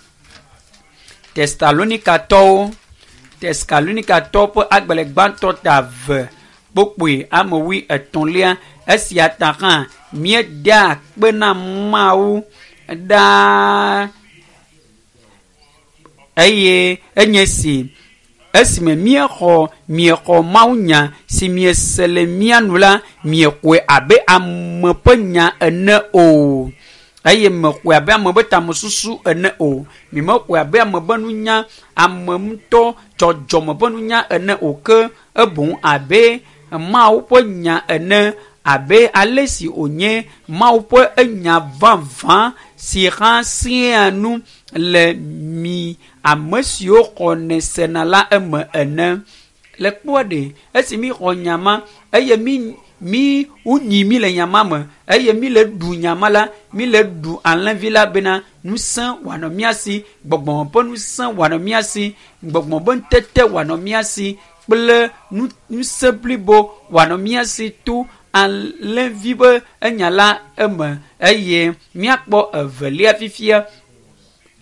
Tesalonikatɔwo Tesalonikatɔwo ƒe agbalẽ gbãtɔ ta eve kpukpui ame wui etɔ̃lia esia ta hã míedea akpe na Mawu ɖaa eye enye si esime míexɔ miexɔ mawunya si miese le mía nu la miexɔe abe ame ƒe nya ene o eye mexɔe abe ame ƒe tamesusu ene o mimexɔe abe ame ƒe nunya ame ŋutɔ dzɔdzɔme ƒe nunya ene o ke eboŋ abe Mawu ƒe nya ene abe ale si wònye Mawu ƒe enya vavã si hã sẽa nu le mi ame siwo xɔnɛ sena la eme ene. Le kpɔa ɖe esi mi xɔ nya ma eye mi mi wonyi mi le nya ma me eye mi le ɖu nya ma la mi le ɖu alẽvi la bena ŋusẽ wòanɔ mía si gbɔgbɔ ƒe ŋusẽ wòanɔ mía si gbɔgbɔ ƒe ŋutete wòanɔ mía si kple nu ŋusẽ blibo wòanɔ mía si to alẽvi ƒe enya la eme eye míakpɔ evelia fifia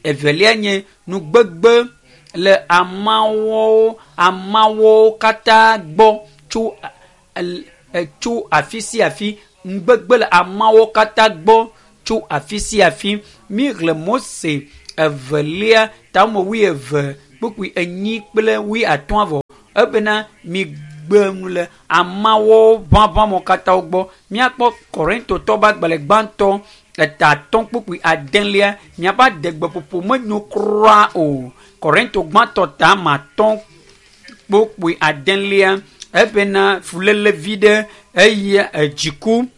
evelia nye nugbegbe le amawo amawo katã gbɔ tso tso afi sia afi ŋugbegbe le ameawo katã gbɔ tso afi sia afi. Míexlẽ Mose evelia tame wuieve kpukpui enyi kple wuiatɔ̃ vɔ ebena migbe nu le ameawo ʋaʋãmo katã gbɔ. Míakpɔ Korintotɔ ƒe agbalẽ gbãtɔ eta atɔ̃ kpukpui adelia miaƒe adegbeƒoƒo menyo kura o. Korinto gbãtɔ ta ame atɔ̃ kpukpui adelia ebena fuléle vi ɖe eye edziku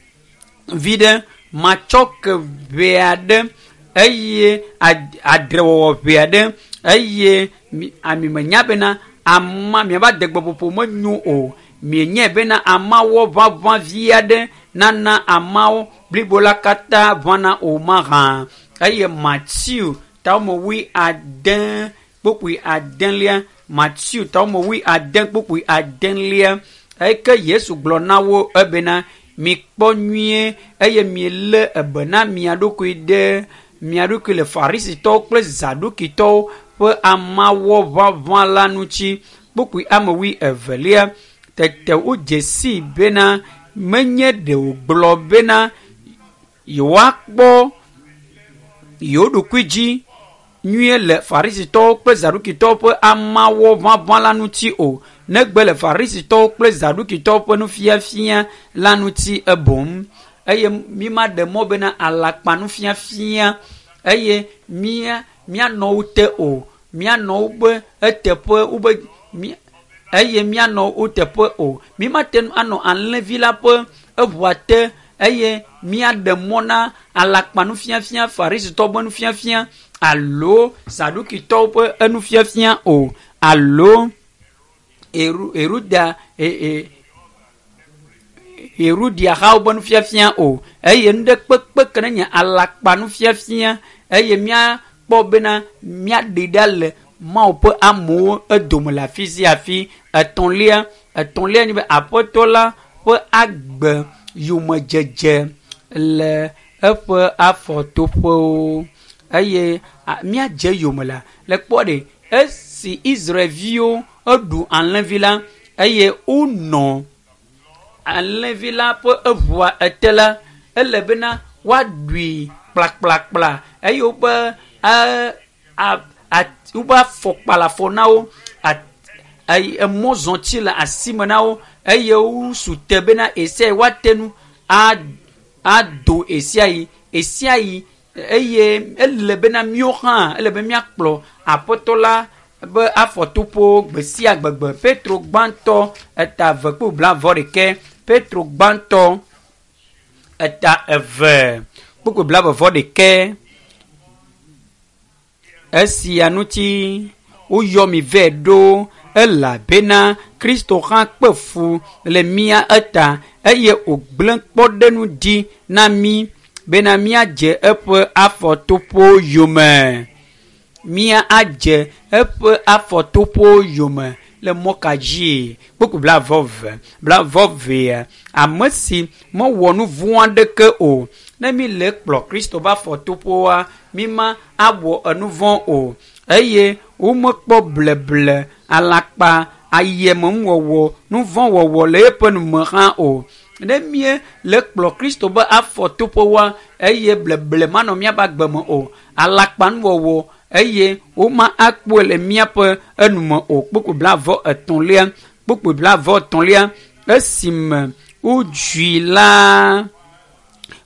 vi ɖe matsɔke ʋɛ aɖe eye adrewɔwɔ ʋɛ aɖe eye ami menya bena ama miaƒe adegbeƒoƒo menyo o. Mienyae bena ameawo ʋaʋã vi aɖe nana ameawo blibo la katã ʋãna o mahã. Eye Matthew tame wui ade kpukpui adelia Matthew tame wui ade kpukpui adelia eke Yesu gblɔ na wo ebena mikpɔ nyuie eye mielé ebe na mia ɖokui ɖe mia ɖokui le Farisitɔwo kple Zadukitɔwo ƒe amawɔ ʋaʋã la ŋuti. Kpukpui ame wui evelia tete wodze sii bena menye ɖe wògblɔ bena yewoakpɔ yewo ɖokui dzi nyuie le Farisitɔwo kple Zadukitɔwo ƒe amawɔ ʋaʋã la ŋuti o, negbe le Farisitɔwo kple Zadukitɔwo ƒe nufiafia la ŋuti eboŋ. Eye mi ma ɖe mɔ bena alakpa nufiafia eye mía míanɔ wo te o, míanɔ wobe eteƒe wobe mí eye míanɔ wo teƒe o. Mi mate ŋu anɔ alẽvi la ƒe eʋua te eye míaɖe mɔ na alakpa nufiafia, Farisitɔwo ƒe nufiafia alo Zadukitɔwo ƒe enufiafia o alo Eru Eruda e e Herodia-hawo ƒe nufiafia o eye nu ɖe kpekpe ke ne nye alakpa nufiafia eye míakpɔ bena míaɖe ɖa le Mawu ƒe amewo edome le afi sia afi. Etɔ̃lia etɔ̃lia nye be Aƒetɔ la ƒe agbe yomedzedze le eƒe afɔtoƒewo eye míadze yome la le kpɔ ɖe esi Israelviwo eɖu alẽvi la eye wonɔ alẽvi la ƒe eʋua ete la ele bena woaɖui kplakplakpla eye woƒe woƒe afɔkpa le afɔ na wo emɔzɔtsi le asime na wo eye wosu te bena esia yi woate ŋu ado esia yi esia yi eye ele bena míawo hã ele be míakplɔ Aƒetɔ la be afɔtoƒewo gbe sia gbegbe. Petro gbãtɔ eta eve kple blaeve ɖekɛ. Petro gbãtɔ eta eve kpukpui blaeve vɔ ɖekɛ. Esia ŋuti woyɔ mi vɛ ɖo elabena Kristo hã kpe fu le mía eta eye wògblẽ kpɔɖeŋu ɖi na mí bena míadze eƒe afɔtoƒewo yome. Mía adze eƒe afɔtoƒewo yome le mɔ ka dzi? Kpukpui blaeve eve blaeve evea ame si mewɔ nu vɔ̃ aɖeke o. Ne mi le kplɔ Kristo ƒe afɔtoƒewoa, mi ma awɔ enu vɔ̃ o eye womekpɔ bleble alakpa ayemenuwɔwɔ nu vɔ̃ wɔwɔ le eƒe nume hã o. Ne mie le kplɔ Kristo ƒe afɔtoƒewoa eye bleble manɔ míaƒe agbe me o, alakpanuwɔwɔ eye woma akpɔe le míaƒe enume o. Kpukpui blaeve etɔ̃lia kpukpui blaeve etɔ̃lia esime wodzui la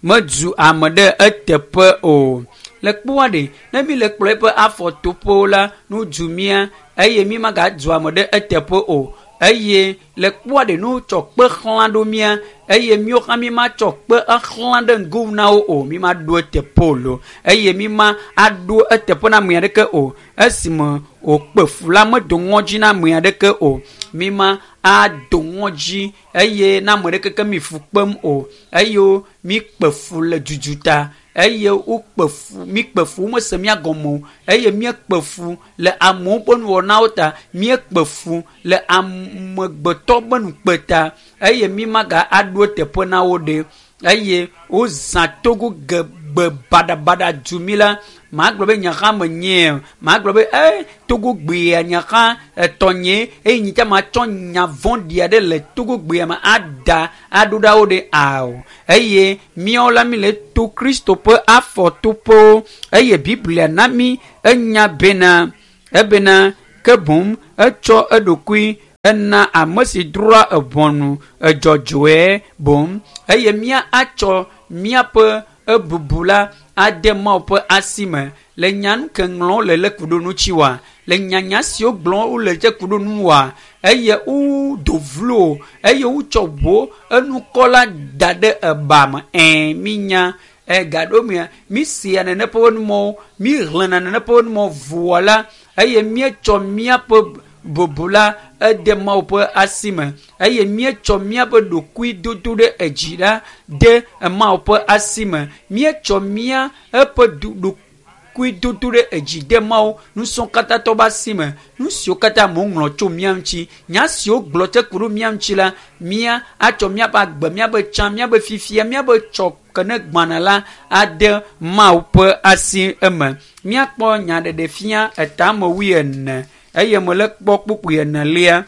medu ame ɖe eteƒe o. Le kpɔa ɖe ne mi le kplɔ eƒe afɔtoƒewo la nu du mía eye mi magadu ame ɖe eteƒe o. Eye le kpɔa ɖe nu tsɔ kpe xlã ɖo mía eye míawo hã mi ma tsɔ kpe exlã ɖe ŋgo na wo o. Mi ma ɖo eteƒe o lo eye mi ma aɖo eteƒe na ame aɖeke o. Esime wòkpe fu la medo ŋɔdzi na ame aɖeke o. Mi ma ado ŋɔdzi eye na ame ɖeke ke mi fu kpem o eye mi kpe fu le dudu ta eye wokpe fu mi kpe fu womese mía gɔme o eye míekpe fu le amewo ƒe nuwɔnawo ta míekpe fu le amegbetɔ ƒe nukpe ta eye mi maga aɖo eteƒe na wo ɖe eye wozã togo ge gbe baɖabaɖa du mi la Magblɔ be nye hã menye magblɔ be e Togogbea nye hã etɔnye eye nyi tsa matsɔ nya vɔ̃ɖi aɖe le Togogbea me ada aɖo ɖa wo ɖe ao. Eye míawo la mi le to Kristo ƒe afɔtoƒewo eye Biblia na mi enya bena ebena ke boŋ etsɔ eɖokui ena ame si drɔ̃a eʋɔnu edzɔdzɔe boŋ eye mía atsɔ míaƒe ebubu la ade Mawu ƒe asi me le nya nu ke ŋlɔm le le ku ɖo ŋuti wa le nyanya siwo gblɔm wole dze ku ɖo nu wa eye wodo vlo eye wotsɔ ʋo enukɔ la da ɖe eba me ɛ minya ega ɖo mia mi sia nene ƒe numɔwo mi xlẽna nene ƒe numɔ voa la eye míetsɔ míaƒe bubu la ede Mawu ƒe asi me eye míetsɔ míaƒe ɖokui dodo ɖe edzi la de Mawu ƒe asi me míetsɔ mía eƒe ɖokui dodo ɖe edzi de Mawu nusɔkatãtɔ ƒe asi me nu siwo katã amewo ŋlɔ tso mía ŋuti nya siwo gblɔ tse ku ɖo mía ŋuti la mía atsɔ míaƒe agbe míaƒe tsã míaƒe fifia míaƒe tsɔ ke ne gbana la ade Mawu ƒe asi eme míakpɔ nyaɖeɖefia etame wuiene eye mele kpɔ kpukpui enelia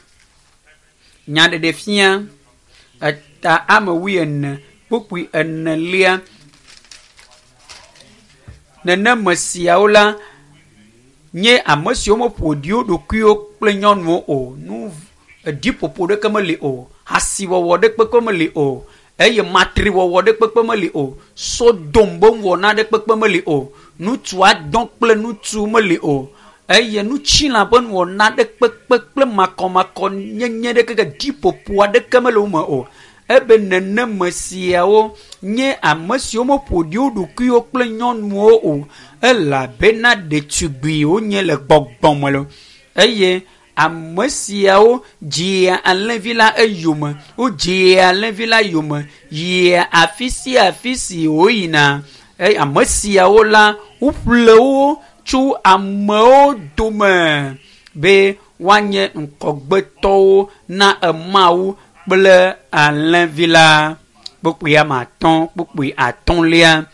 nyaɖeɖefia eta ame wuiene kpukpui enelia neneme siawo la nye ame siwo meƒo ɖi wo ɖokuiwo kple nyɔnuwo o nu eɖiƒoƒo ɖeke meli o hasiwɔwɔ ɖe kpekpe meli o eye matriwɔwɔ ɖe kpekpe meli o sodom be wɔna ɖe kpekpe meli o ŋutsu adɔ kple ŋutsu meli o eye nutsila ƒe nuwɔna ɖe kpekpe kple makɔmakɔ nyenye ɖe keke ɖiƒoƒo aɖeke mele wo me o ebe neneme siawo nye ame siwo meƒo ɖi wo ɖokuiwo kple nyɔnuwo o elabena ɖetugbiwo wonye le gbɔgbɔme lo eye ame siawo dzia alẽvi la eyome wodzia alẽvi la yome yia afi sia afi si woyina eye ame siawo la woƒle wo tso amewo dome be woanye ŋkɔgbetɔwo na Mawu kple alẽvi la kpukpui ame atɔ̃ kpukpui atɔ̃lia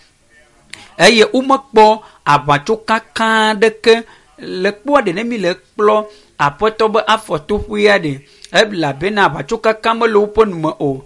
eye womekpɔ aʋatsokaka ɖeke le kpɔa ɖe ne mi le kplɔ aƒetɔ be afɔtoƒea ɖe elabena aʋatsokaka mele woƒe nume o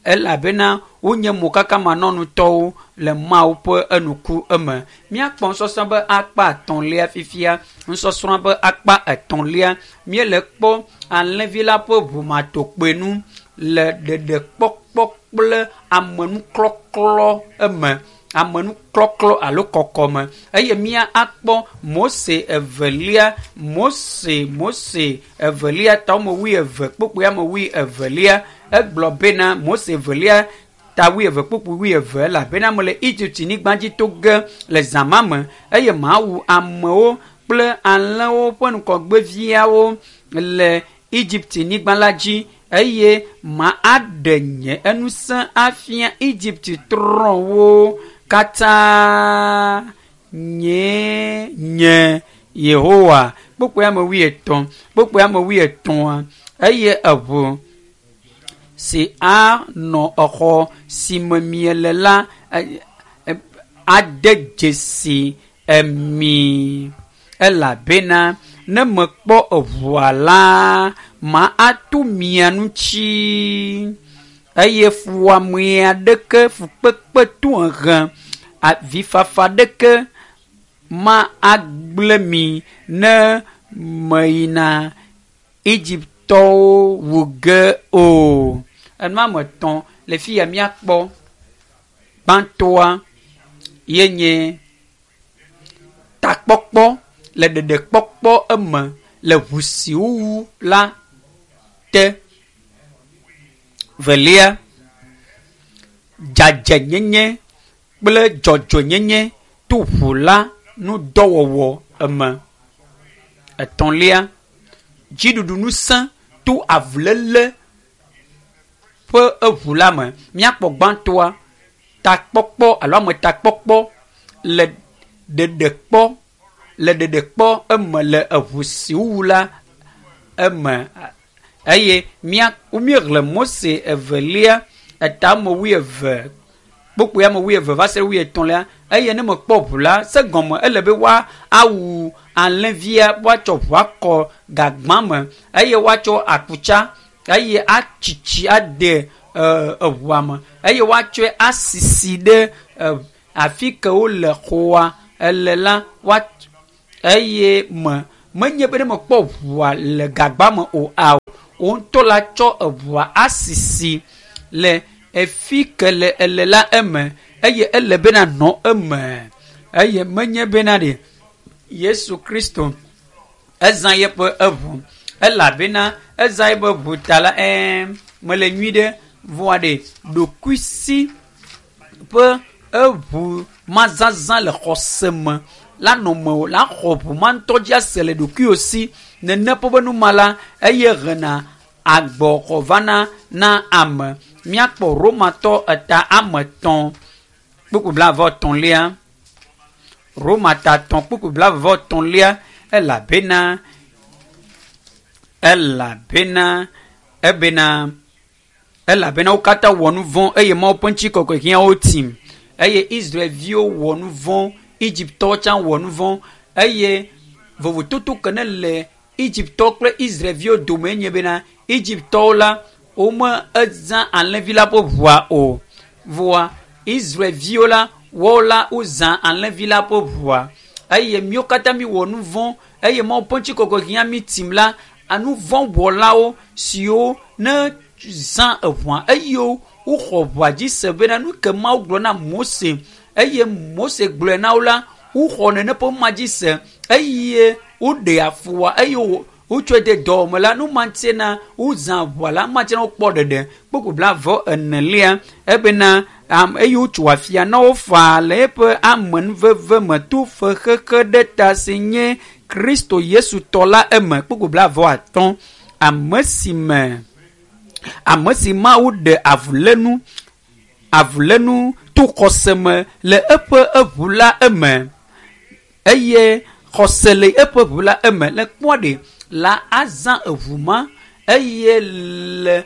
elabena wonye mokakamanɔnutɔwo le Mawu ƒe enuku eme. Míakpɔ nusɔsrɔ̃ be akpa etɔ̃lia fifia nusɔsrɔ̃ be akpa etɔ̃lia míele kpɔ alẽvi la ƒe ʋumatokpenu le ɖeɖekpɔkpɔ kple amenuklɔklɔ eme amenuklɔklɔ alo kɔkɔme eye mía akpɔ Mose evelia Mose Mose evelia ta ame wuieve kpukpui ame wuievelia egblɔ bena Mose evelia ta wuieve kpukpui wuieve elabena mele Egypt nyigba dzi to ge le zã ma me eye mawu amewo kple alẽwo ƒe ŋgɔgbeviawo le Egypt nyigba la dzi eye ma aɖe nye enusẽ afia Egypt trɔ̃wo katã nye nye Yehowa kpukpui ame wuietɔ̃ kpukpui ame wuietɔ̃a eye eʋu si anɔ exɔ si me miele la ade dzesi emi elabena ne mekpɔ eʋua la ma ato mia ŋuti eye fuwɔame aɖeke fukpekpe tohehe avifafa ɖeke ma agblẽ mi ne meyina Egyptɔwo wu ge o. Enu ame etɔ̃ le fi ya míakpɔ. Gbãtɔa ye nye takpɔkpɔ le ɖeɖekpɔkpɔ eme le ʋu si wowu la te. Velia, dzadzɛnyenye kple dzɔdzɔenyenye to ʋu la ŋudɔwɔwɔ eme. Etɔ̃lia, dziɖuɖu ŋusẽ to avuléle ƒe eʋu la me. Míakpɔ gbãtɔa, takpɔkpɔ alo ametakpɔkpɔ le ɖeɖekpɔ le ɖeɖekpɔ eme le eʋu si wowu la eme eye mía míexlẽ Mose evelia eta ame wuieve kpokpoe ame wuieve va se ɖe wuietɔ̃lia eye ne mekpɔ ʋu la se gɔme ele be woa awu alẽvia woatsɔ ʋua kɔ gagbã me eye woatsɔ akutsa eye atsitsi ade eʋua me eye woatsɔe asisi ɖe afi ke wole xɔa ele la woa eye me menye be ne mekpɔ ʋua le gagba me o ao wo ŋutɔ la tsɔ eʋua asisi le efi ke le ele la eme eye ele bena nɔ eme eye menye bena ɖe Yesu Kristo ezã yeƒe eʋu elabena ezã yeƒe ʋu ta la ɛɛ mele nyui ɖe vɔa ɖe ɖokuisi ƒe eʋu mazazã le xɔse me la nɔ me o la xɔ ʋu ma ŋutɔ dzi ase le ɖokuiwò si nene ƒe be numa la eye hena agbɔxɔ vana na ame. Míakpɔ Romatɔ eta ame etɔ̃ kpukpu blaeve etɔ̃lia. Roma ta etɔ̃ kpukpu blaeve etɔ̃lia elabena elabena ebena elabena wo katã wɔ nu vɔ̃ eye Mawu ƒe ŋutikɔkɔe hiã wo tim eye Israelviwo wɔ nu vɔ̃, Egiptɔwo tsã wɔ nu vɔ̃ eye vovototo ke ne le Egiptɔwo kple Israelviwo dome nye bena Egiptɔwo la wome ezã alẽvi la ƒe ʋua o vɔa Israelviwo la woawo la wozã alẽvi la ƒe ʋua eye míwo katã míwɔ nu vɔ̃ eye Mawu ƒe ŋutikɔkɔe hiã mí tim la anu vɔ̃ wɔlawo siwo ne zã eʋua eye woxɔ ʋua dzi se bena nu ke Mawu gblɔ na Mose eye Mose gblɔe na wo la woxɔ nene ƒe ma dzi se eye woɖe afua eye wotsɔe de dɔwɔme la nu ma ŋuti na wozã ʋua la ma ŋuti na wokpɔ ɖeɖe kpukpu blaeve enelia ebena eye wotso afia na wo faa le eƒe amenuveve me to fexexe ɖe ta si nye Kristo Yesu tɔ la eme kpukpu blaeve atɔ̃ ame si me ame si Mawu ɖe avulénu avulénu to xɔse me le eƒe eʋu la eme eye xɔse le eƒe ʋu la eme le kpɔa ɖe la azã eʋu ma eye le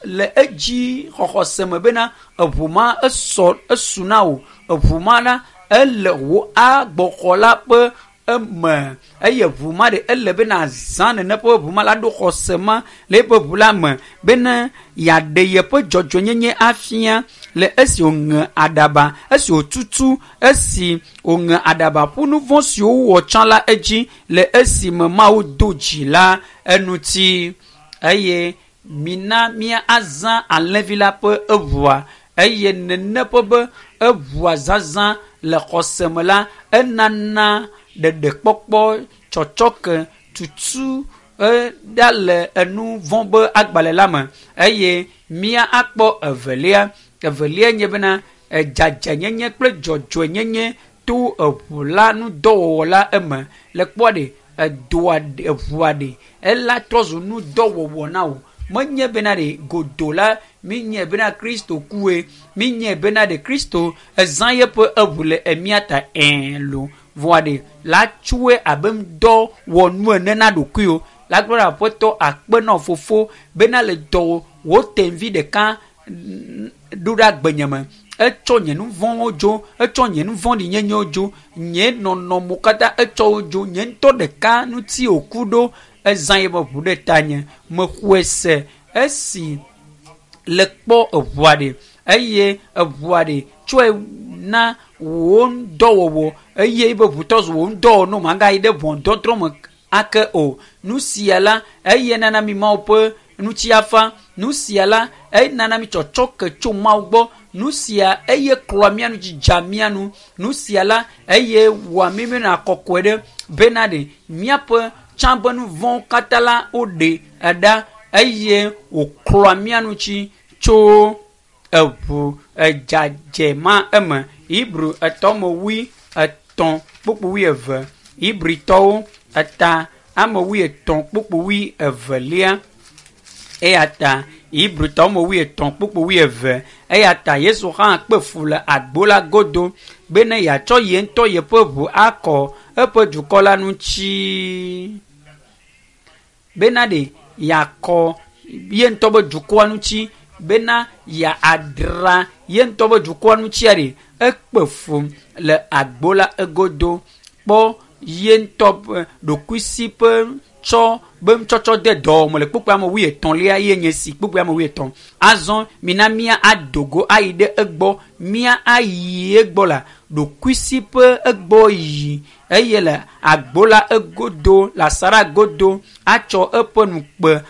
le edzi xɔxɔse me bena eʋu ma esɔ esu na wò eʋu ma la ele wò agbɔxɔ la ƒe eme eye ʋu ma ɖe ele bena azã nene ƒe ʋu ma la ɖo xɔse ma le eƒe ʋu la me bena yeaɖe yeƒe dzɔdzɔenyenye afia le esi wòŋe aɖaba esi wòtutu esi wòŋe aɖaba ƒu nu vɔ̃ siwo wowɔ tsã la edzi le esime Mawu do dzi la eŋuti eye mina mía azã alẽvi la ƒe eʋua eye nene ƒe be eʋua zazã le xɔse me la enana ɖeɖekpɔkpɔ tsɔtsɔke tutu ɖa le enu vɔ̃ be agbalẽ la me eye mía akpɔ evelia evelia nye bena dzadzɛnyenye kple dzɔdzɔenyenye to eʋu la ŋudɔwɔwɔ la eme le kpɔa ɖe edoa eʋua ɖe ela trɔ zu ŋudɔwɔwɔ na wò menye bena ɖe godo la minye bena Kristo kue minye bena ɖe Kristo ezã yeƒe eʋu le emia ta ɛɛ lo vɔa ɖe la tsoe abe ŋudɔwɔnu ene na ɖokuiwò la gblɔ ɖe aƒetɔ akpe na fofo bena le dɔ wò tevi ɖeka ɖo ɖe agbenye me etsɔ nye nu vɔ̃wo dzo etsɔ nye nu vɔ̃ɖinyenyewo dzo nye nɔnɔmewo katã etsɔ wo dzo nye ŋutɔ ɖeka ŋuti wòku ɖo ezã yeƒe ʋu ɖe tanye mexɔe se esi le kpɔ eʋua ɖe eye eʋua ɖe tsɔe na wò ŋudɔwɔwɔ eye eƒe ʋu trɔ zu wò ŋudɔwɔwɔ ne magayi ɖe ʋɔnudɔdrɔ̃ me ake o nu sia la eye nana mi Mawu ƒe ŋutiafa nu sia la eye nana mi tsɔtsɔke tso Mawu gbɔ nu sia eye klɔa mía nu dzidza mía nu nu sia la eye wɔa mí míenɔna kɔkɔe ɖe bena ɖe míaƒe tsã be nu vɔ̃wo katã la woɖe ɖa eye wòklɔa mía ŋuti tso eʋu edzadze ma eme Hebru etɔ̃ me wui etɔ̃ kpukpu wui eve Hebritɔwo eta ame wui etɔ̃ kpukpu wui evelia eya ta Hebritɔwo me wui etɔ̃ kpukpu wui eve eya ta Yesu hã kpe fu le agbo la godo bene yeatsɔ ye ŋutɔ yeƒe ʋu akɔ eƒe dukɔ la ŋuti bena ɖe yeakɔ ye ŋutɔ be dukɔa ŋuti bena yeadra ye ŋutɔ be dukɔa ŋutia ɖe ekpe fu le agbo la egodo kpɔ ye ŋutɔ ƒe ɖokuisi ƒe tsɔ be ŋutsɔtsɔ de dɔwɔme le kpukpui ame wuietɔ̃lia ye nye si kpukpui ame wuietɔ̃ azɔ mina mía ado go ayi ɖe egbɔ mía ayi egbɔ la ɖokuisi ƒe egbɔ yiyi eye le agbo la egodo le asaɖa godo atsɔ eƒe nukpe